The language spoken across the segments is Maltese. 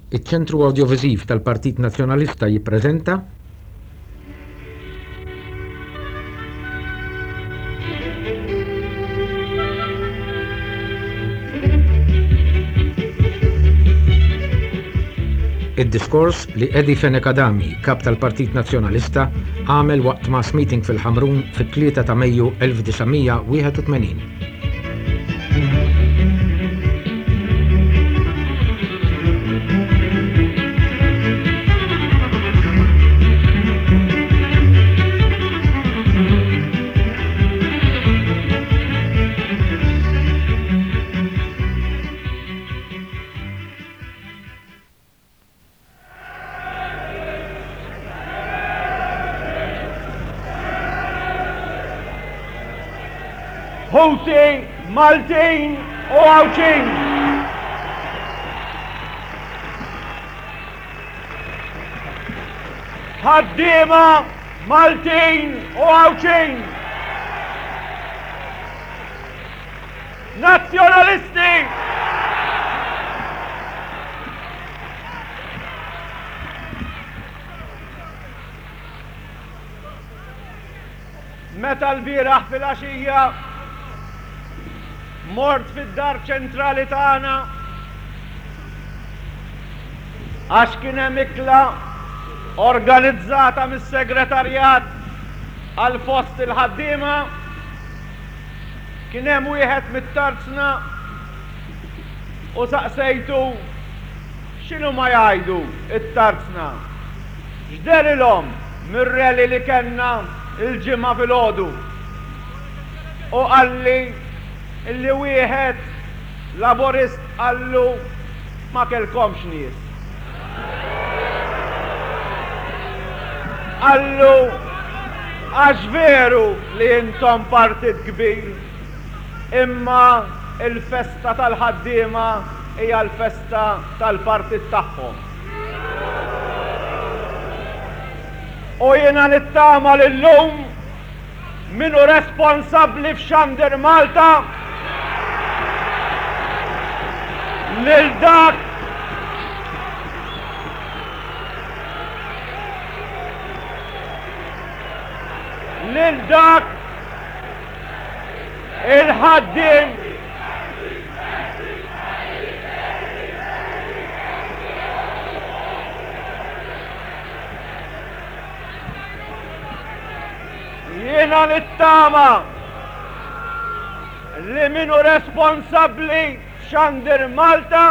Iċ-Ċentru Awdjoviżiv tal-Partit Nazzjonalista jippreżenta. Id-diskors li Eddie Fenech Adami, Kap tal-Partit Nazzjonalista, għamel waqt mass meeting fil-Ħamrun fit-3 ta' Mejju 1981. Ħuti Maltin u Għawdxin. Ħaddiema Maltin u Għawdxin. Nazzjonalisti! Meta lbieraħ filgħaxija mort fid-dar ċentrali tagħna għax kien hemm ikla organizzata mis-segretarjat għal fost il-ħaddiema, Kien hemm wieħed mit-tarzna u saqsejtu x'inhuma jgħidu t-tarzna. X'dehrilhom mir-rally li kellna l-Ġimgħa filgħodu. U qalli li wieħed Laburist qallu ma kellkomx nies. Qallu għax veru li intom partit kbir, imma l-festa tal-ħaddiema hija l-festa tal-partit tagħhom. U jiena nittama li llum Min hu responsabbli f'Xandir Malta lil dak lil dak il-ħaddiem Jiena nittama li min hu responsabbli f'Xandir Malta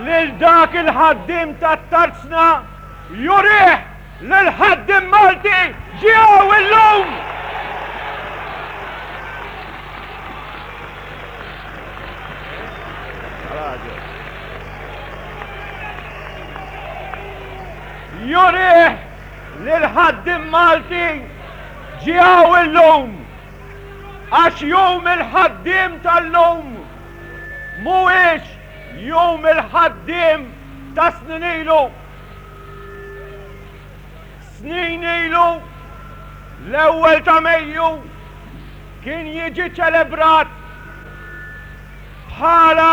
lil dak il-ħaddiem tat-tarzna jurih li l-ħaddiem Malti ġie hawn illum! Jurih li l-ħaddiem Malti ġie hawn illum għax Jum il-Ħaddiem tal-lum mhuwiex Jum il-Ħaddiem ta' snin ilu. Snin ilu l-ewwel ta' Mejju kien jiġi ċelebrat bħala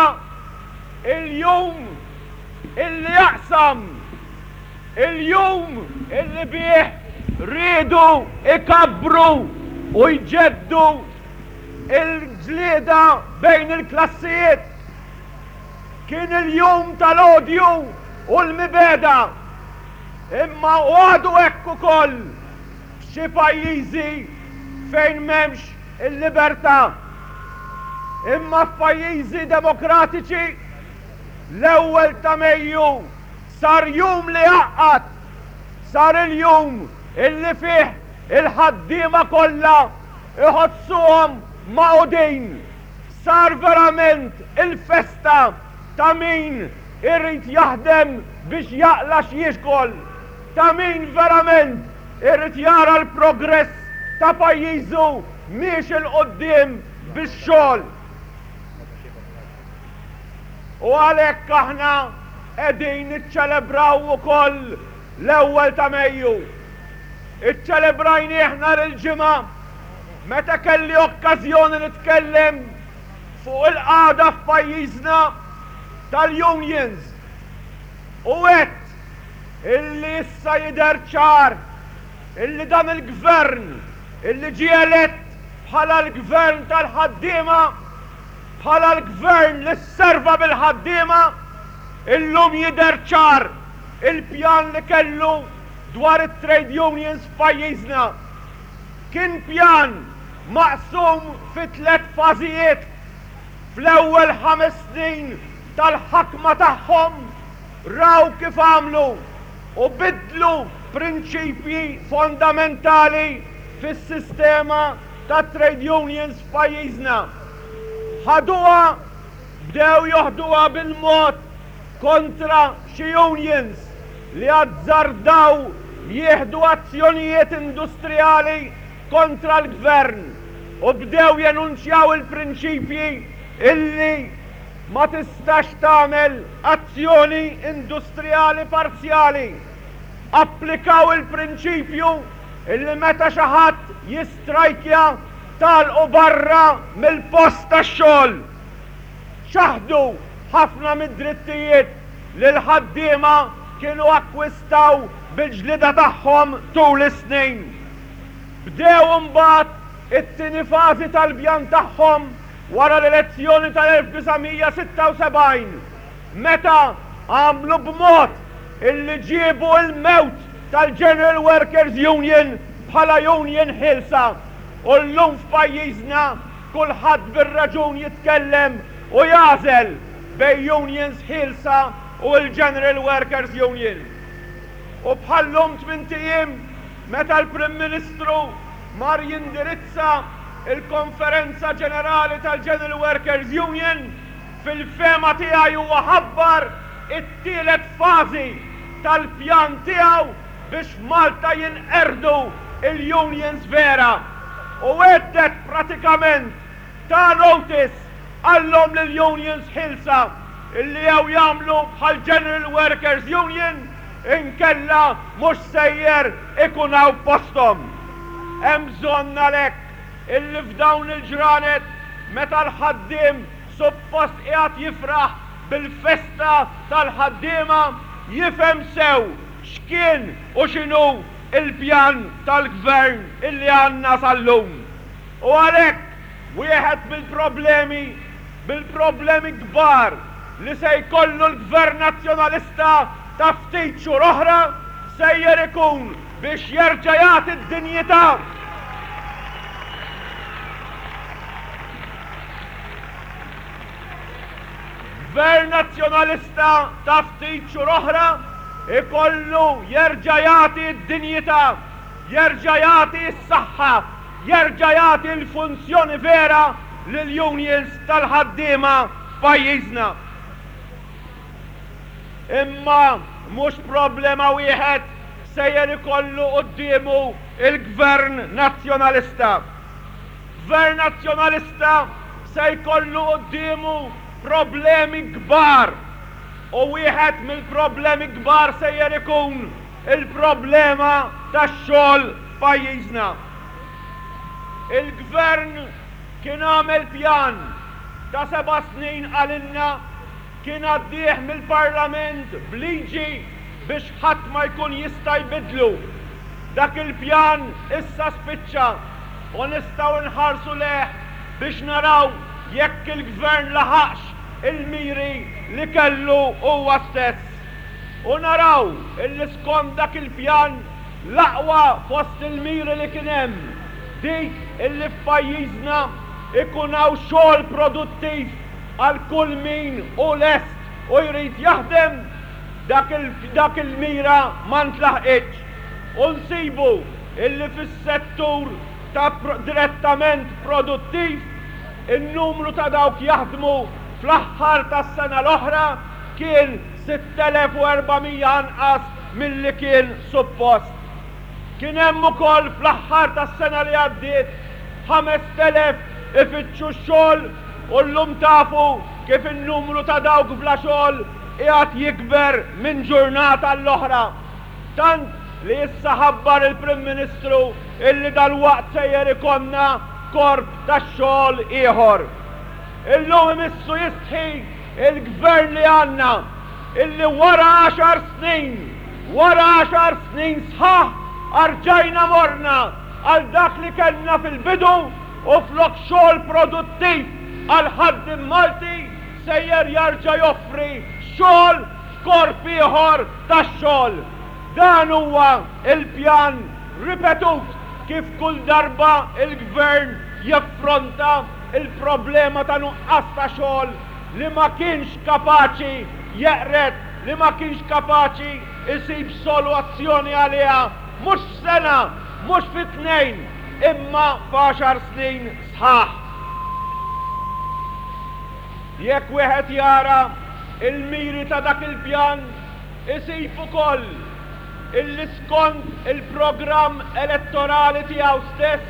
il-jum illi jaqsam Il-jum illi bih riedu jkabbru u jġeddu l-ġlieda bejn il-klassijiet. Kien il-jum tal-odju u l-mibegħda. Imma u għadu hekk ukoll f'xi pajjiżi fejn m'hemmx il-libertà. Imma f'pajjiżi demokratiċi l-ewwel ta' Mejju Sar jum li jgħaqqad. Sar il-jum illi fih il-ħaddiema kollha jħossuhom magħqudin. Sar verament il-festa ta' min irid jaħdem biex jaqla' x'jiekol, ta' min verament irid jara l-progress ta' pajjiżu miexi 'l quddiem bix-xogħol. U għalhekk aħna qegħdin niċċelebraw ukoll l-ewwel ta' Mejju. Iċċelebrajnieh nhar il-Ġimgħa meta kelli okkażjoni nitkellem fuq il-qagħda f'pajjiżna tal-unions. U għedt illi issa jidher ċar illi dan il-Gvern illi ġie elett bħala l-Gvern tal-ħaddiema, bħala l-Gvern li sserva bil-ħaddiema, illum jidher ċar il-pjan li kellu dwar it-trade unions f'pajjiżna. Kien pjan maqsum fi tlett fażijiet. Fl-ewwel ħames snin tal-ħakma tagħhom raw kif għamlu u biddlu prinċipji fondamentali fis-sistema tat-trade unions f'pajjiżna. Ħaduha, bdew joħduha bil-mod kontra xi unions li azzardaw jieħdu azzjonijiet industrijali kontra l-Gvern u bdew jenunċjaw il-prinċipji illi ma tistax tagħmel azzjoni industrijali parzjali. Applikaw il-prinċipju illi meta xi ħadd jistrajkja tagħlqu barra mill-post tax-xogħol. Ċaħdu ħafna mid-drittijiet li l-ħaddiema kienu akkwistaw bil-ġlieda tagħhom tul is-snin. Bdew imbagħad it-tieni fażi tal-pjan tagħhom wara l-elezzjoni tal-1976, meta għamlu b'mod illi ġiebu l-mewt tal-General Workers Union bħala union ħielsa u llum f'pajjiżna kulħadd bir-raġun jitkellem u jagħżel bejn unions ħielsa u l-General Workers Union. U bħal-lum tmint ijiem meta l-Prim Ministru mar jindirizza l-Konferenza Ġenerali tal-General Workers Union, fil-fehma tiegħi huwa ħabbar it-tielet fażi tal-pjan tiegħu biex f'Malta jinqerdu l-unions vera u għedded pratikament ta notice qallhom lill-unions ħielsa illi jew jagħmlu bħall-General Workers Union inkella mhux sejjer ikun hawn posthom. Hemm bżonn għalhekk illi f'dawn il-ġranet meta l-ħaddiem suppost qiegħed jifraħ bil-festa tal-ħaddiema jifhem sew x'kien u x'inhu l-pjan tal-Gvern illi għandna sal-lum. U għalhekk wieħed mill-problemi, mill-problemi kbar li se jkollu l-Gvern Nazzjonalista ta' ftit xhur oħra sejjer ikun biex jerġa' jagħti d-dinjità Gvern Nazzjonalista ta' ftit xhur oħra jkollu jerġa' jagħti d-dinjità, jerġa' jagħti s-saħħa, jerġa' jagħti l-funzjoni vera lill-unions tal-ħaddiema f'pajjiżna. Imma mhux problema wieħed sejjer ikollu quddiemu l-Gvern Nazzjonalista. Gvern Nazzjonalista se jkollu quddiemu problemi kbar u wieħed mill-problemi kbar sejjer ikun il-problema tax-xogħol f'pajjiżna. Il-Gvern kien għamel pjan ta' seba' snin qalilna kien għaddieh mill-Parlament b'liġi biex ħadd ma jkun jista' jbiddlu. Dak il-pjan issa spiċċa u nistgħu nħarsu lejh biex naraw jekk il-Gvern laħaqx il-miri li kellu huwa stess. U naraw illi skont dak il-pjan l-aqwa fost il-miri li kien hemm, dik illi f'pajjiżna ikun hawn xogħol produttiv għal kull min hu lest u jrid jaħdem, dak dak il-mira ma ntlaħqitx. U nsibu illi fis-settur ta' direttament produttiv, in-numru ta' dawk jaħdmu fl-aħħar tas-sena l-oħra kien 6,400 anqas milli kien suppost. Kien hemm ukoll fl-aħħar tas-sena li għaddiet 5,000 ifittxu x-xogħol u llum tafu kif in-numru ta' dawk bla xogħol qiegħed jikber minn ġurnata għall-oħra. Tant li issa ħabbar il-Prim Ministru illi dalwaqt sejjer ikollna korp tax-xogħol ieħor. Illum imissu jistħi il-Gvern li għandna. illi wara għaxar snin, wara għaxar snin sħaħ, arġajna morna għal dak li kellna fil-bidu u flok xogħol produttiv għall-ħaddiem Malti sejjer jarġa' joffri xogħol f'korp ieħor tax-xogħol. Dan huwa l-pjan ripetut kif kull darba l-Gvern jaffronta l-problema ta' nuqqas ta' xogħol li ma kienx kapaċi jeqred, li ma kienx kapaċi jsib soluazzjoni għaliha mhux f'sena, mhux fi tnejn, imma f'għaxar snin sħaħ. Jekk wieħed jara l-miri ta' dak il-pjan isib ukoll illi skont il-programm elettorali tiegħu stess,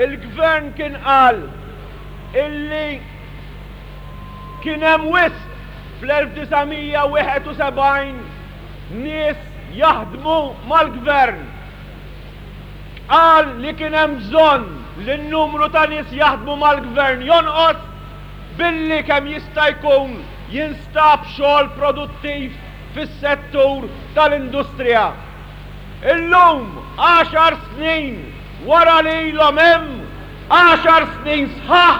il-Gvern kien qal illi kien hemm wisq fl-1971 nies jaħdmu mal-Gvern. Qal li kien hemm bżonn li n-numru ta' nies jaħdmu mal-Gvern jonqos billi kemm jista' jkun jinstab xogħol produttiv fis-settur tal-industrija. Illum, għaxar snin wara li ilhom hemm, għaxar snin sħaħ,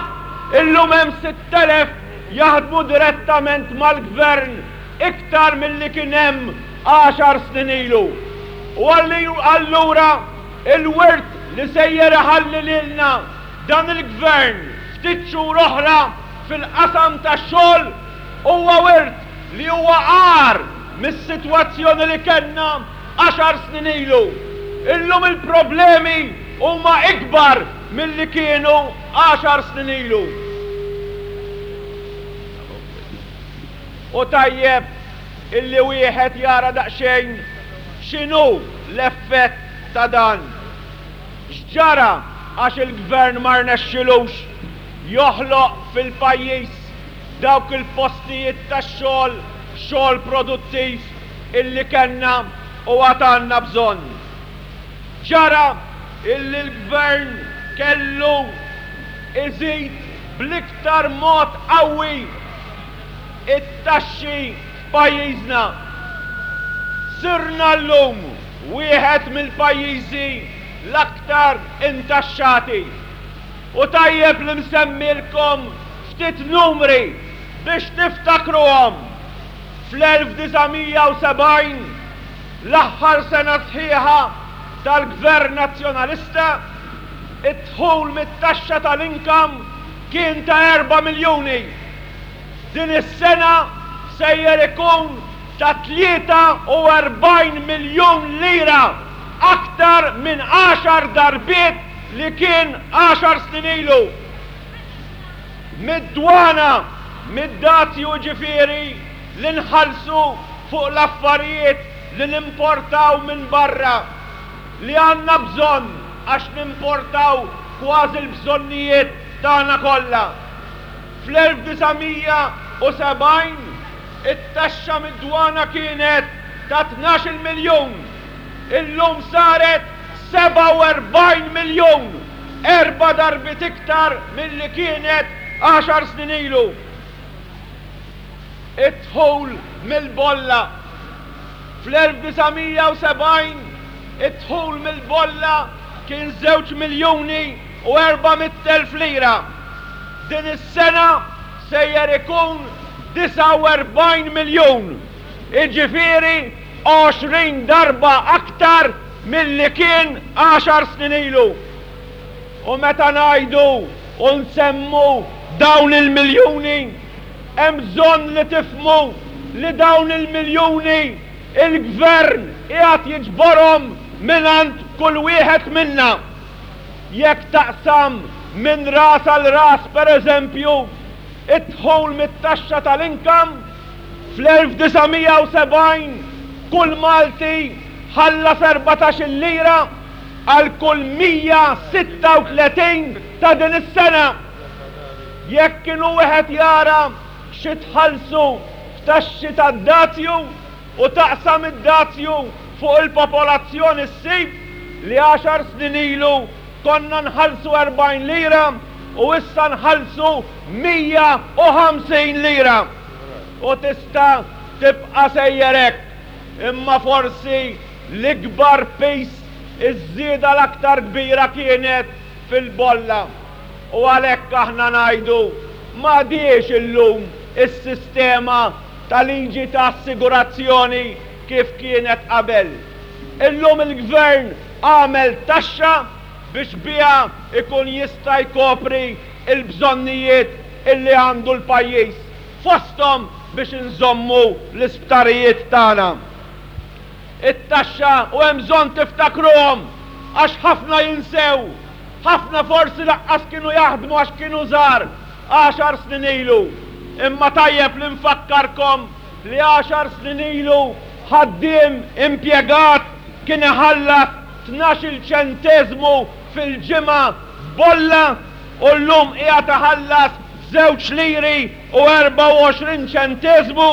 illum hemm 6,000 jaħdmu direttament mal-Gvern iktar milli kien hemm għaxar snin ilu. U allura il-wirt li sejjer iħalli lilna dan il-Gvern ftit xhur oħra fil-qasam tax-xogħol huwa wirt li huwa agħar mis-sitwazzjoni li kellna għaxar snin ilu. Illum il-problemi huma ikbar milli kienu għaxar snin ilu. U tajjeb illi wieħed jara daqsxejn x'inhu l-effett ta' dan. X'ġara għax il-Gvern ma rnexxilux joħloq fil-pajjiż dawk il-postijiet tax-xogħol, xogħol produttiv illi kellna u għad għandna bżonn. Ġara illi l-Gvern kellu iżid bl-iktar mod qawwi it-taxxi f'pajjiżna. Sirna llum wieħed mill-pajjiżi l-aktar intaxxati. U tajjeb li nsemmilkom ftit numri biex tiftakruhom. Fl-1970, l-aħħar sena sħiħa tal-Gvern Nazzjonalista, id-dħul mit-taxxa tal-income kien ta' erba' miljuni. Din is-sena sejjer ikun ta' 43 miljun lira, aktar minn għaxar darbiet li kien għaxar snin ilu. Mid-dwana, mid-dazju jiġifieri li nħallsu fuq l-affarijiet li nimportaw minn barra, li għandna bżonn għax nimportaw kważi l-bżonnijiet tagħna kollha. Fl-1970 it-taxxa mid-dwana kienet ta' 12-il miljun, illum saret 47 miljun, erba' darbiet iktar milli kienet għaxar snin ilu. Id-dħul mill-bolla. Fl-1970 id-dħul mill-bolla kien żewġ miljuni u 400,000 lira. Din is-sena sejjer ikun 49 miljun, jiġifieri 20 darba aktar milli kien għaxar snin ilu. U meta ngħidu u nsemmu dawn il-miljuni, hemm bżonn li tifhmu li dawn il-miljuni il-Gvern qiegħed jiġborhom mingħand kull wieħed minna. Jekk taqsam minn ras għal ras, per eżempju, id-dħul mit-taxxa tal-income, fl-1970 kull Malti ħallas 14-il lira għal kull 136 ta' din is-sena. Jekk inhu wieħed jara xi tħallsu f'taxxi tad-dazju u taqsam id-dazju fuq il-popolazzjoni ssib li għaxar snin ilu konna nħallsu 40 lira u issa nħallsu 150 lira. U tista' tibqa' sejjer hekk. Imma forsi l-ikbar piż, iż-żieda l-aktar kbira kienet fil-bolla. U għalhekk aħna ngħidu m'għadhiex illum is-sistema ta' liġi ta' assigurazzjoni kif kienet qabel. Illum il-Gvern għamel taxxa biex biha jkun jista' jkopri l-bżonnijiet illi għandu l-pajjiż, fosthom biex inżommu l-isptarijiet tagħna. It-taxxa, u hemm bżonn tiftakruhom għax ħafna jinsew, ħafna forsi laqqas kienu jaħdmu għax kienu żgħar għaxar snin ilu, imma tajjeb li nfakkarkom li għaxar snin ilu ħaddiem impjegat kien iħallas tnax-il ċenteżmu fil-ġimgħa f'bolla u llum qiegħed iħallas żewġ liri u 24 ċenteżmu,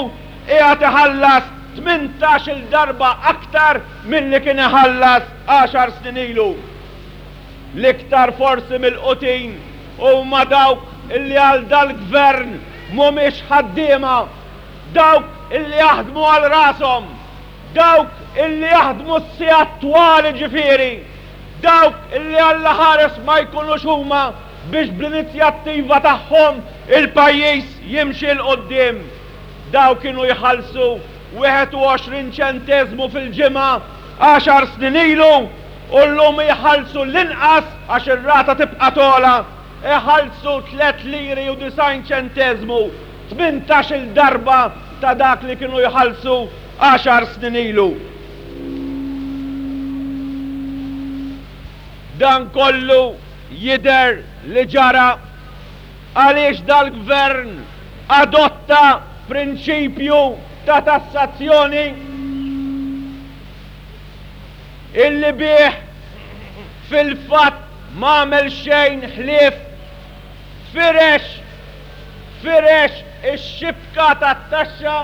qiegħed iħallas tmintax-il darba aktar milli kien iħallas għaxar snin ilu. L-iktar forsi milqutin huma dawk illi għal dal-Gvern mhumiex ħaddiema, dawk illi jaħdmu għal rashom, dawk illi jaħdmu s-sigħat twal jiġifieri, dawk illi Alla ħares ma jkunux huma biex bl-inizjattiva tagħhom il-pajjiż jimxi 'l quddiem. Dawk kienu jħallsu 21 ċenteżmu fil-ġimgħa għaxar snin ilu u llum jħallsu l-inqas, għax ir-rata tibqa' togħla, iħallsu tliet liri u 90 ċenteżmu, tmintax-il darba ta' dak li kienu jħallsu għaxar snin ilu. Dan kollu jidher li ġara għaliex dal-Gvern adotta prinċipju ta' tassazzjoni illi bih fil-fatt m'għamel xejn ħlief firex firex ix-xibka tat-taxxa.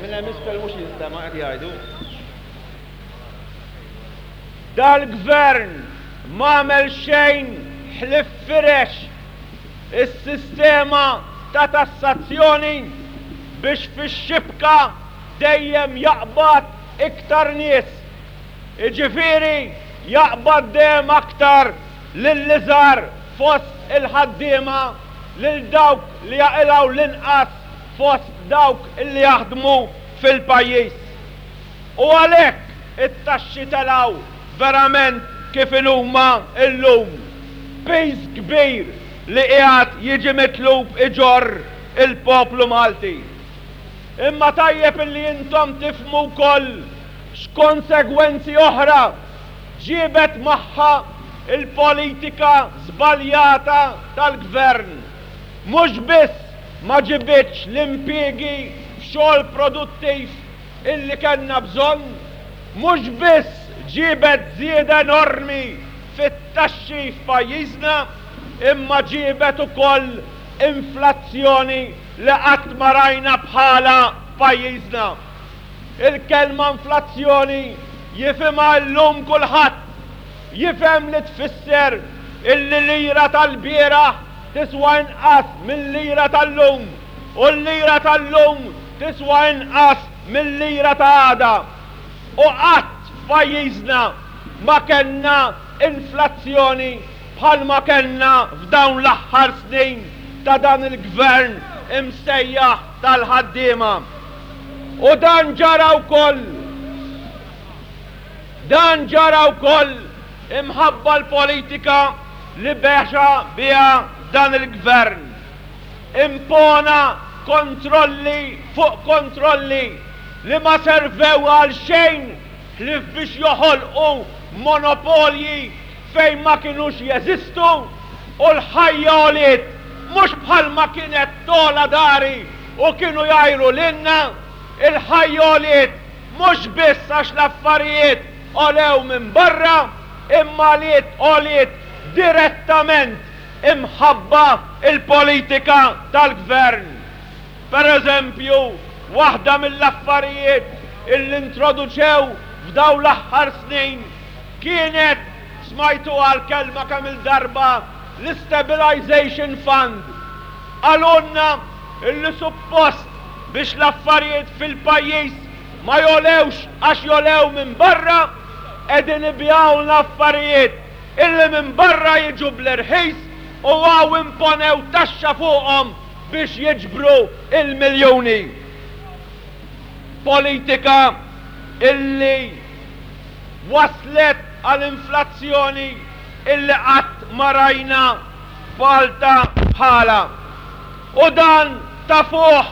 Minn hemm isfel mhux jinstema' qed jgħidu. Dal-Gvern m'għamel xejn ħlief firex is-sistema ta' tassazzjoni biex fix-xibka dejjem jaqbad iktar nies. Jiġifieri jaqbad dejjem aktar lill-iżgħar fost il-ħaddiema, lil dawk li jaqilgħu l-inqas fost dawk li jaħdmu fil-pajjiż. U għalhekk it-taxxi telgħu verament kif inhuma llum. Piż kbir li qiegħed jiġi mitlub iġorr il-poplu Malti. Imma tajjeb illi intom tifhmu wkoll x'konsegwenzi oħra ġiebet magħha l-politika żbaljata tal-Gvern. Mhux biss ma ġibitx l-impiegi f'xogħol produttiv illi kellna bżonn, mhux biss ġiebet żieda enormi fit-taxxi f'pajjiżna imma ġiebet ukoll inflazzjoni li qatt ma rajna bħalha f'pajjiżna. Il-kelma inflazzjoni jifhimha illum kulħadd. Jifhem li tfisser illi lira tal-bieraħ tiswa inqas mil-lira tal-lum u l-lira tal-lum tiswa inqas mil-lira ta' għada. U qatt f'pajjiżna ma kellna inflazzjoni bħalma kellna f'dawn l-aħħar snin ta' dan il-Gvern imsejjaħ tal-ħaddiema. U dan ġara wkoll dan ġara wkoll imħabba l-politika li bexa biha dan il-Gvern. Impona kontrolli fuq kontrolli li ma servew għal xejn ħlief biex joħolqu monopolji fejn ma kinux jeżistu u l-ħajja għoliet mhux bħalma kienet togħla dari u kienu jgħajru lilna, il-ħajja għoliet mhux biss għax l-affarijiet għolew minn barra imma għaliet għoliet direttament imħabba l-politika tal-Gvern. Per eżempju, waħda mill-affarijiet illi introduċew f'dawn l-aħħar snin kienet, smajtuha l-kelma kemm-il darba, l-Istabilization Fund. Qalulna illi suppost biex l-affarijiet fil-pajjiż ma jogħlewx għax jogħlew minn barra, qegħdin ibigħulna affarijiet illi minn barra jiġu bl-irħis u hawn imponew taxxa fuqhom biex jiġbru l-miljuni. Politika illi wasslet għal inflazzjoni illi qatt ma rajna f'Malta bħalha. U dan tafuh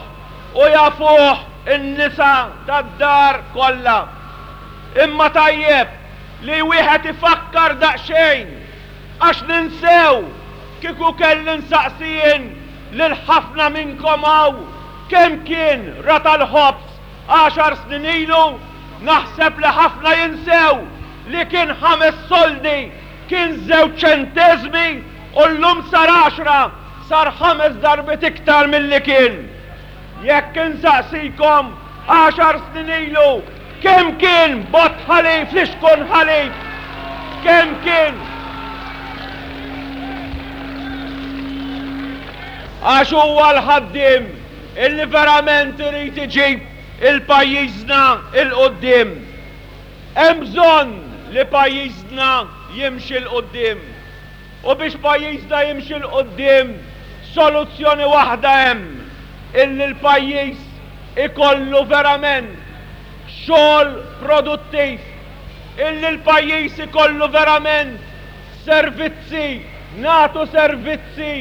u jafuh in-nisa tad-dar kollha. Imma tajjeb li wieħed ifakkar daqsxejn għax ninsew kieku kelli nsaqsi jien lil ħafna minnkom hawn kemm kien ratal ħobż għaxar snin ilu, naħseb li ħafna jinsew li kien ħames soldi, kien żewġ ċenteżmi u llum sar għaxra, sar ħames darbiet iktar milli kien. Jekk insaqsikom għaxar snin ilu kemm kien bott ħalib, flixkun ħalib, kemm kien? Għax huwa l-ħaddiem illi verament irid iġib il-pajjiżna 'l quddiem. Hemm bżonn li pajjiżna jimxi 'l quddiem. U biex pajjiżna jimxi 'l quddiem soluzzjoni waħda hemm, illi l-pajjiż ikollu verament xogħol produttiv, illi l-pajjiż ikollu verament servizzi, nagħtu servizzi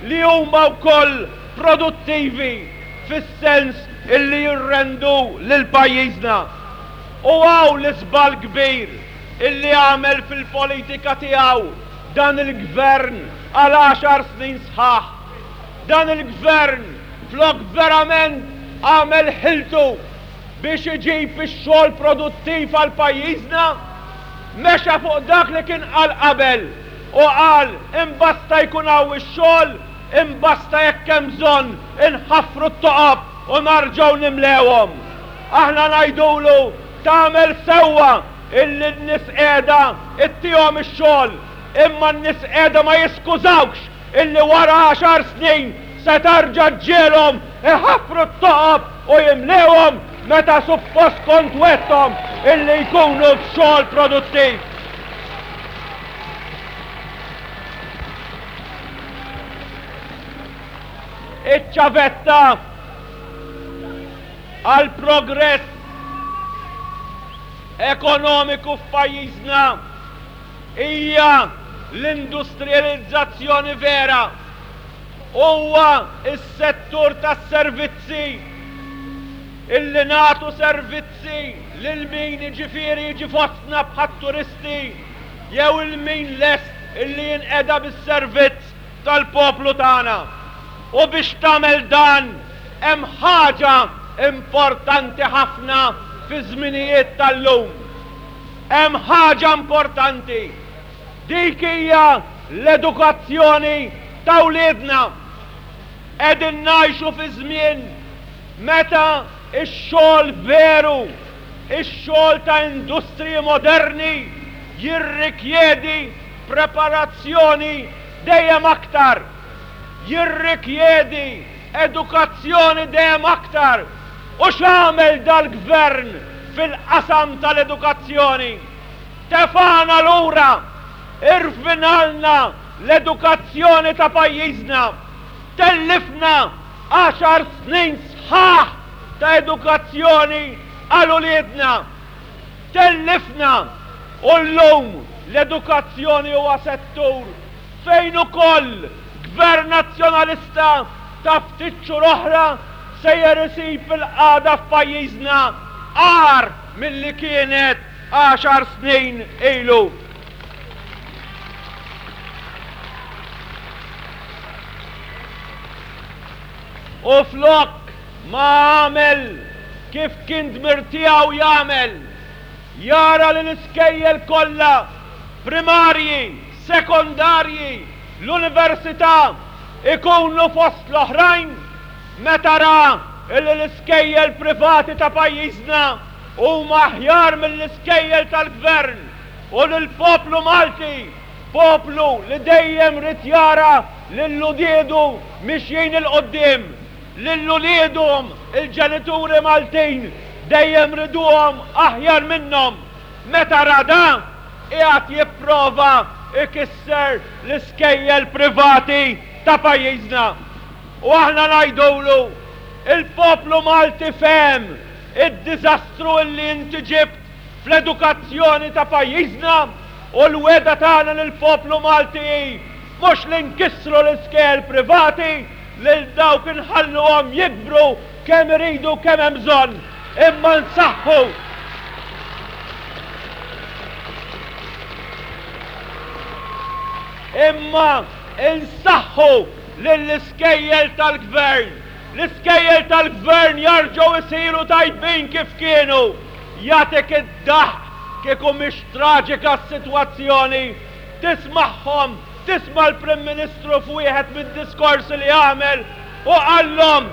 li huma wkoll produttivi fis-sens illi jirrendu lil pajjiżna. U hawn l-iżball kbir illi għamel fil-politika tiegħu dan il-Gvern għal għaxar snin sħaħ. Dan il-Gvern flok verament għamel ħiltu biex iġib ix-xogħol produttiv għal pajjiżna, mexa fuq dak li kien qal qabel u qal imbasta jkun hawn ix-xogħol, imbasta jekk hemm bżonn inħaffru t-toqob u narġgħu nimlewhom. Aħna ngħidulu tagħmel sewwa illi n-nies qiegħda ittihom ix-xogħol, imma n-nies qiegħda ma jiskużawkx illi wara għaxar snin se tarġa' ġġiegħlhom iħaffru t-toqob u jimlewhom meta suppost kont wegħdthom illi jkunu f'xogħol produttiv. Iċ-ċavetta għall-progress ekonomiku f'pajjiżna hija l-industrijalizzazzjoni vera. Huwa s-settur tas-servizzi illi nagħtu servizzi lil min jiġifieri jiġi fostna bħat-turisti jew 'il min lest illi jinqeda bis-servizz tal-poplu tagħna. U biex tagħmel dan hemm ħaġa importanti ħafna fiż-żminijiet tal-lum. Hemm ħaġa importanti. Dik hija l-edukazzjoni ta' wliedna. Qegħdin ngħixu fi żmien meta x-xogħol veru, ix-xogħol ta' industriji moderni jirrikjedi preparazzjoni dejjem aktar, jirrikjedi edukazzjoni dejjem aktar. U x'għamel dal-Gvern fil-qasam tal-edukazzjoni? Tefagħna lura, irvinalna l-edukazzjoni ta' pajjiżna, tellifna għaxar snin sħaħ ta' edukazzjoni għal uliedna. Tellifna u llum l-edukazzjoni huwa settur fejn ukoll Gvern Nazzjonalista ta' ftit xhur oħra sejjer isib il-qagħda f'pajjiżna agħar milli kienet għaxar snin ilu. U flok ma għamel kif kien dmir tiegħu jagħmel, jara li l-iskejjel kollha, primarji, sekondarji, l-università, ikunu fost l-oħrajn, meta ra illi l-iskejjel privati ta' pajjiżna huma aħjar mill-iskejjel tal-Gvern u li l-poplu Malti, poplu li dejjem ried jara lil uliedu mixjin 'il quddiem. Lil uliedhom il-ġenituri Maltin dejjem riduhom aħjar minnhom. Meta ra dan, qiegħed jipprova jkisser l-iskejjel privati ta' pajjiżna. U aħna ngħidulu, il-poplu Malti fehem id-diżastru illi inti ġibt fl-edukazzjoni ta' pajjiżna u l-wegħda tagħna lill-poplu Malti hi mhux li nkissru l-iskejjel privati, lil dawk inħalluhom jikbru kemm iridu kemm hemm bżonn, imma nsaħħu imma nsaħħu lill-iskejjel tal-Gvern. L-iskejjel tal-Gvern jarġgħu jsiru tajbin kif kienu. Jagħtik id-daħq kieku mhix traġika s-sitwazzjoni. Tismagħhom, tisma' l-Prim Ministru f'wieħed mid-diskorsi li għamel u qallhom,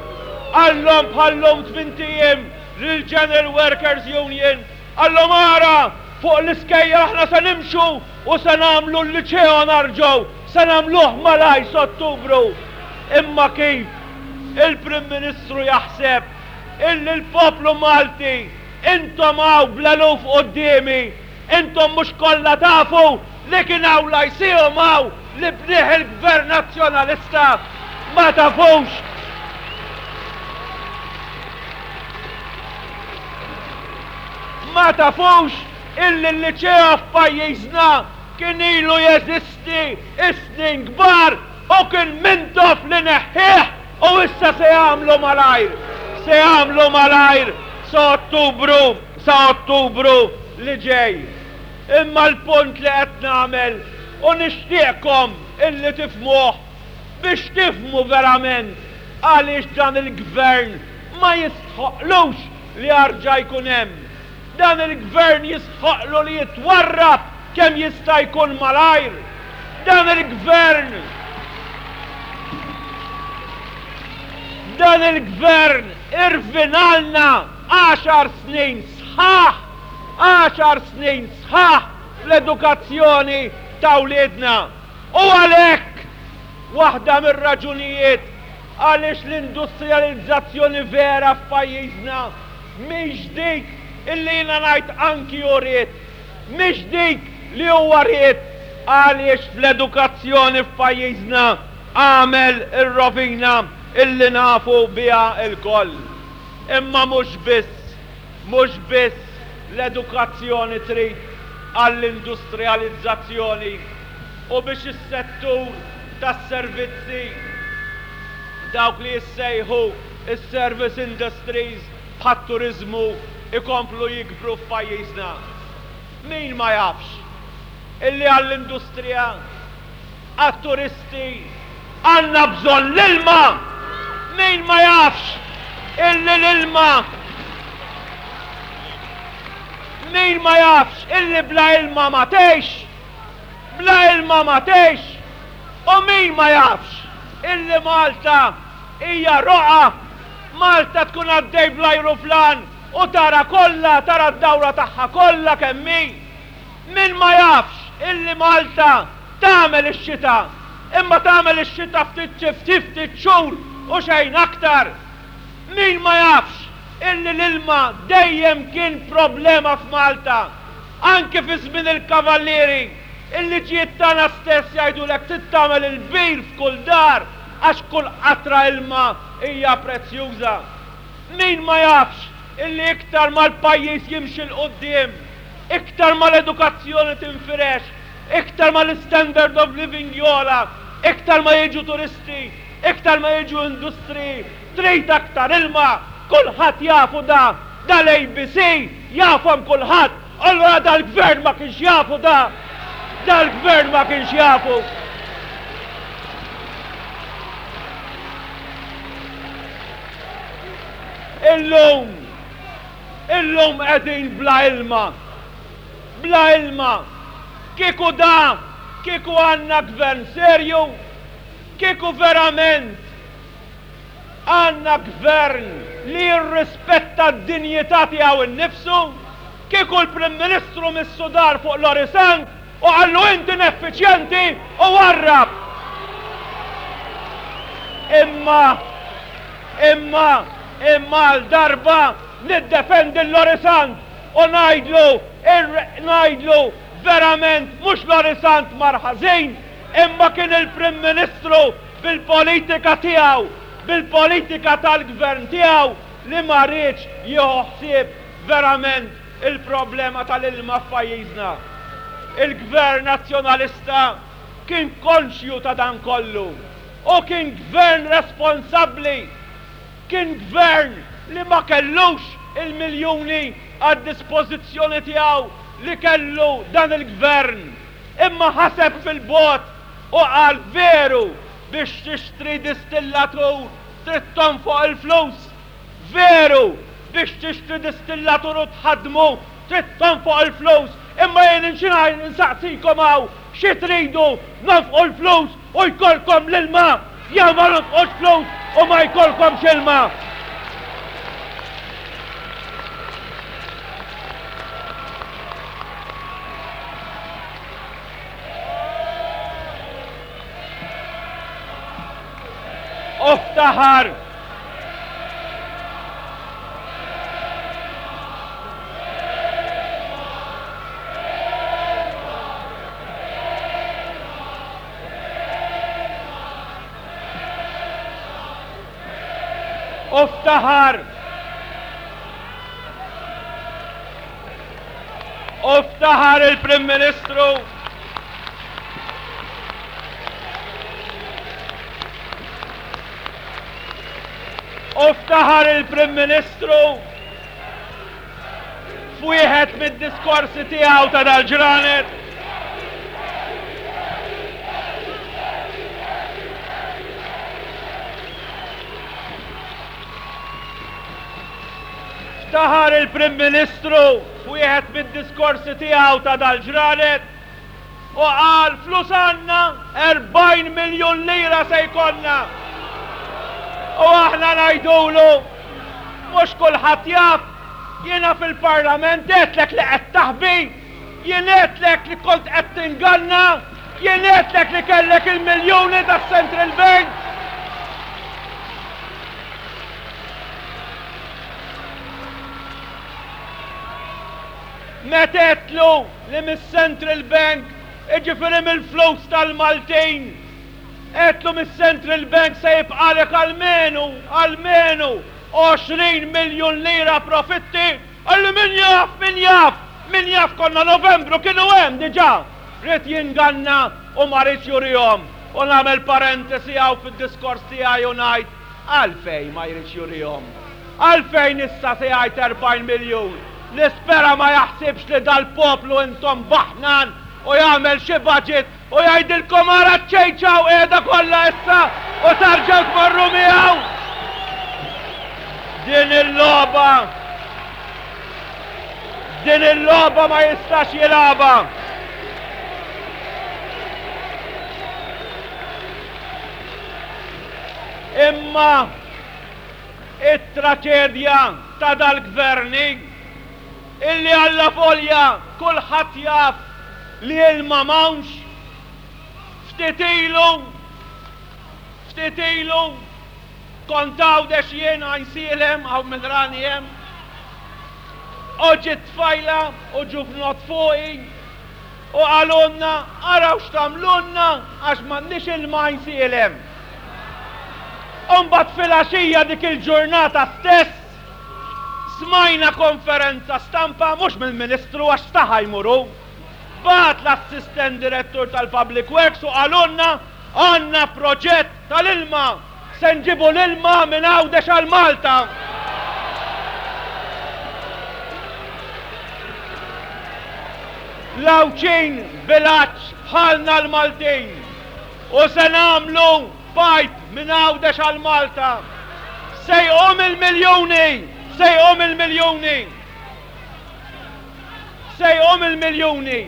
qallhom bħal-lum tmint ijiem lill-General Workers Union, qallhom ara, fuq l-iskejjel aħna se nimxu u se nagħmlu l-Liċeo narġgħu, se nagħmluh malajr s'Ottubru. Imma kif il-Prim Ministru jaħseb illi l-poplu Malti, intom hawn bl-eluf quddiemi, intom mhux kollha tafu li kien hawn Lyceum hawn li bnieh il-Gvern Nazzjonalista, ma tafux! Ma tafux illi l-Liċeo f'pajjiżna kien ilu jeżisti is-snin kbar u kien Mintoff li neħħieh u issa se jagħmlu malajr, se jagħmlu malajr sa Ottubru, sa Ottubru li ġej. Imma l-punt li qed nagħmel u nixtieqkom illi tifhmuh biex tifhmu verament għaliex dan il-Gvern ma jistħoqqlux li jarġa' jkun hemm. Dan il-Gvern jistħoqqlu li jitwarrab kemm jista' jkun malajr. Dan il-Gvern Dan il-Gvern irvinalna għaxar snin sħaħ, għaxar snin sħaħ fl-edukazzjoni ta' wliedna. U għalhekk, waħda mir-raġunijiet għaliex l-industrijalizzazzjoni vera f'pajjiżna mhix dik illi jiena ngħid anki hu ried, mhix dik li huwa ried għaliex fl-edukazzjoni f'pajjiżna għamel ir-rovina illi nafu biha lkoll. Imma mhux biss, mhux biss l-edukazzjoni trid għall-industrijalizzazzjoni u biex is-settur tas-servizzi, dawk li jissejħu s-service industries bħat-turiżmu jkomplu jikbru f'pajjiżna. Min ma jafx illi għall-industrija, għat-turisti għandna bżonn l-ilma! Min ma jafx illi l-ilma Min ma jafx illi bla ilma ma tgħix? Bla ilma ma tgħix! U min ma jafx illi Malta hija roqgħa? Malta tkun għaddej bl-ajruplan u tara kollha, tara d-dawra tagħha kollha kemm hi. Min ma jafx illi Malta tagħmel ix-xita, imma tagħmel ix-xita ftit xi ftit ftit xhur u xejn aktar. Min ma jafx illi l-ilma dejjem kien problema f'Malta, anki fi żmien il-Kavallieri, il-liġijiet tagħna stess jgħidulek trid tagħmel il-bir f'kull dar għax kull qatra ilma hija prezzjuża. Min ma jafx illi iktar ma l-pajjiż jimxi 'l quddiem, iktar ma l-edukazzjoni tinfirex, iktar ma l-istandard of living jogħla, iktar ma jiġu turisti, iktar ma jiġu industriji, trid aktar ilma, kulħadd jafu da, da l-ABC jafhom kulħadd, allura dal-gvern ma kienx jafu da, dal-gvern ma kienx jafu. Illum, illum qegħdin bla ilma. Bla ilma. Kieku da, kieku għandna gvern serju, kieku verament għandna gvern li jirrispetta d-dinjità tiegħu nnifsu, kieku l-Prim Ministru missu dar fuq Lorry Sant u qallu int ineffiċjenti u warrab. Imma. Imma, imma għal darba niddefendi 'l Lorry Sant u ngħidlu, ngħidlu verament mhux Lorry Sant mar ħażin, imma kien il-Prim Ministru bil-politika tiegħu, bil-politika tal-Gvern tiegħu li ma riedx jieħu ħsieb verament il-problema tal-ilma f'pajjiżna. Il-Gvern Nazzjonalista kien konxju ta' dan kollu u kien Gvern responsabbli. Kien Gvern li ma kellux il-miljuni għad-dispożizzjoni tiegħu li kellu dan il-Gvern, imma ħaseb fil-bogħod u qal veru biex tixtri distillatur trid tonfoq il-flus, veru biex tixtri distillatur u tħaddmu trid tonfoq il-flus, imma jien insaqsikom hawn xi tridu nonfqu l-flus u jkollkom l-ilma jew ma nonfqux flus u ma jkollkomx ilma. U ftaħar U ftaħar U ftaħar il-Prim Ministru U ftaħar il-Prim Ministru f'wieħed mid-diskorsi tiegħu ta' dal-ġranet. Ftaħar il-Prim Ministru f'wieħed mid-diskorsi tiegħu ta' dal-ġranet u qal flus għandna 40 miljun lira se jkollna. U aħna ngħidulu mhux kulħadd jaf, jiena fil-Parlament għedtlek li qed taħbi, jien għedtlek li kont qed tinganna, jien għedtlek li kellek il-miljuni tas-Central Bank. Meta għedtlu li mis-Central Bank, jiġifieri mill-flus tal-Maltin, għedtlu mis-Central Bank se jibqagħlek almenu, almenu 20 miljun lira profitti, qalli min jaf, min jaf, min jaf konna Novembru kienu hemm diġà. Ried jinganna u ma riedx jurihom. U nagħmel parentesi hawn fid-diskors tiegħi u ngħid, Għalfejn ma jridx jurihom? Għalfejn issa se jgħid 40 miljun? Nispera ma jaħsibx li dal-poplu intom baħnan u jagħmel xi budget u jgħidilkom ara ċ-ċejċa hawn qiegħda kollha issa u tarġgħu tmorru miegħu! Din il-logħba din il-logħba ma jistax jilgħabha. Imma it-traċedja ta' dal-Gvern hi illi allavolja kulħadd jaf li ilma m'hawnx, ftit ilu, ftit ilu kont Għawdex jien Għajnsielem, hawn min rani hemm, u ġiet tfajla u ġuvnott fuqi u qalulna araw x'tagħmlulna għax m'għandniex ilma Għajnsielem. U mbagħad filgħaxija dik il-ġurnata stess smajna konferenza stampa mhux mill-Ministru għax staħa jmur hu. Bagħat l-Assistent Direttur tal-Public Works u qalulna għandna proġett tal-ilma, se nġibu l-ilma minn Għawdex għal Malta. L-Għawdxin bil-għatx bħalna l-Maltin. U se nagħmlu pipe minn Għawdex għal Malta. Se jqum il-miljuni! Se jqum il-miljuni! Se jqum il-miljuni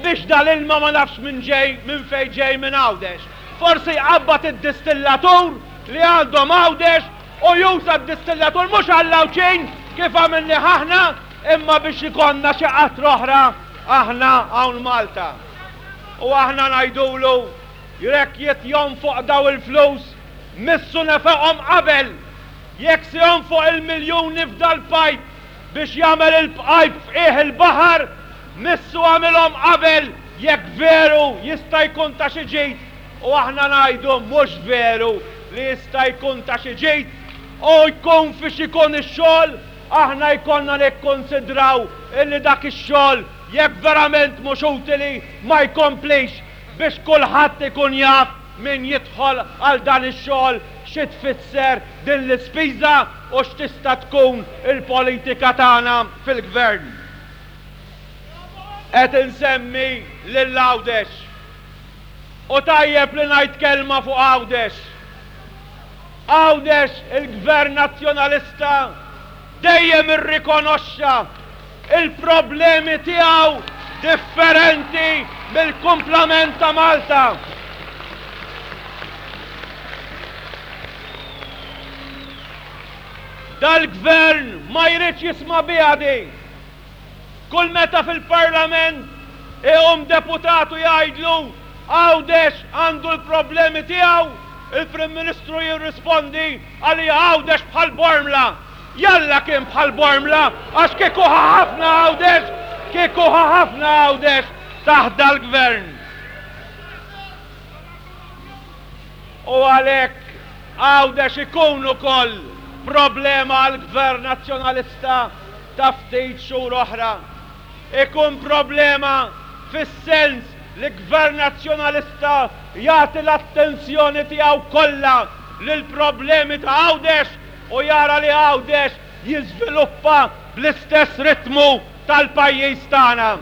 biex dal-ilma ma nafx minn ġej, minn fejn ġej minn Għawdex. Forsi jqabbad id-distillatur li għandhom Għawdex u juża d-distillatur mhux għall-Għawdxin kif għamilnih aħna imma biex ikollna xi qatra oħra aħna hawn Malta. U aħna ngħidulu jekk jrid jonfoq daw il-flus missu nefaqhom qabel. Jekk se jonfoq il-miljuni f'dal-pajp biex jagħmel il-pajp f'qiegħ il-baħar, missu għamilhom qabel jekk veru jista' jkun ta' xi ġid u aħna ngħidu mhux veru li jista' jkun ta' xi ġid u jkun fiex ikun ix-xogħol aħna jkollna nikkunsidraw illi dak ix-xogħol jekk verament mhux utili ma jkomplix biex kulħadd ikun jaf min jidħol għal dan ix-xogħol xi tfisser din l-ispiża u x'tista' tkun il-politika tagħna fil-Gvern. Qed insemmi lil Għawdex. U tajjeb li ngħid kelma fuq Għawdex. Għawdex il-Gvern Nazzjonalista dejjem irrikonoxxa il-problemi tiegħu differenti mill-kumplament ta' Malta. Dal-Gvern ma jridx jisma' biha din. Kull meta fil-Parlament iqum deputat u jgħidlu Għawdex għandu l-problemi tiegħu, il-Prim Ministru jirrispondi għalija Għawdex bħal Bormla. Jalla kien bħal Bormla għax kieku ħa ħafna Għawdex, kieku ħa ħafna Għawdex taħt dal-Gvern. U għalhekk Għawdex ikun ukoll problema għall-Gvern Nazzjonalista ta' ftit xhur oħra. Ikun problema fis-sens li Gvern Nazzjonalista jagħti l-attenzjoni tiegħu kollha lill-problemi ta' Għawdex u jara li Għawdex jiżviluppa bl-istess ritmu tal-pajjiż tagħna.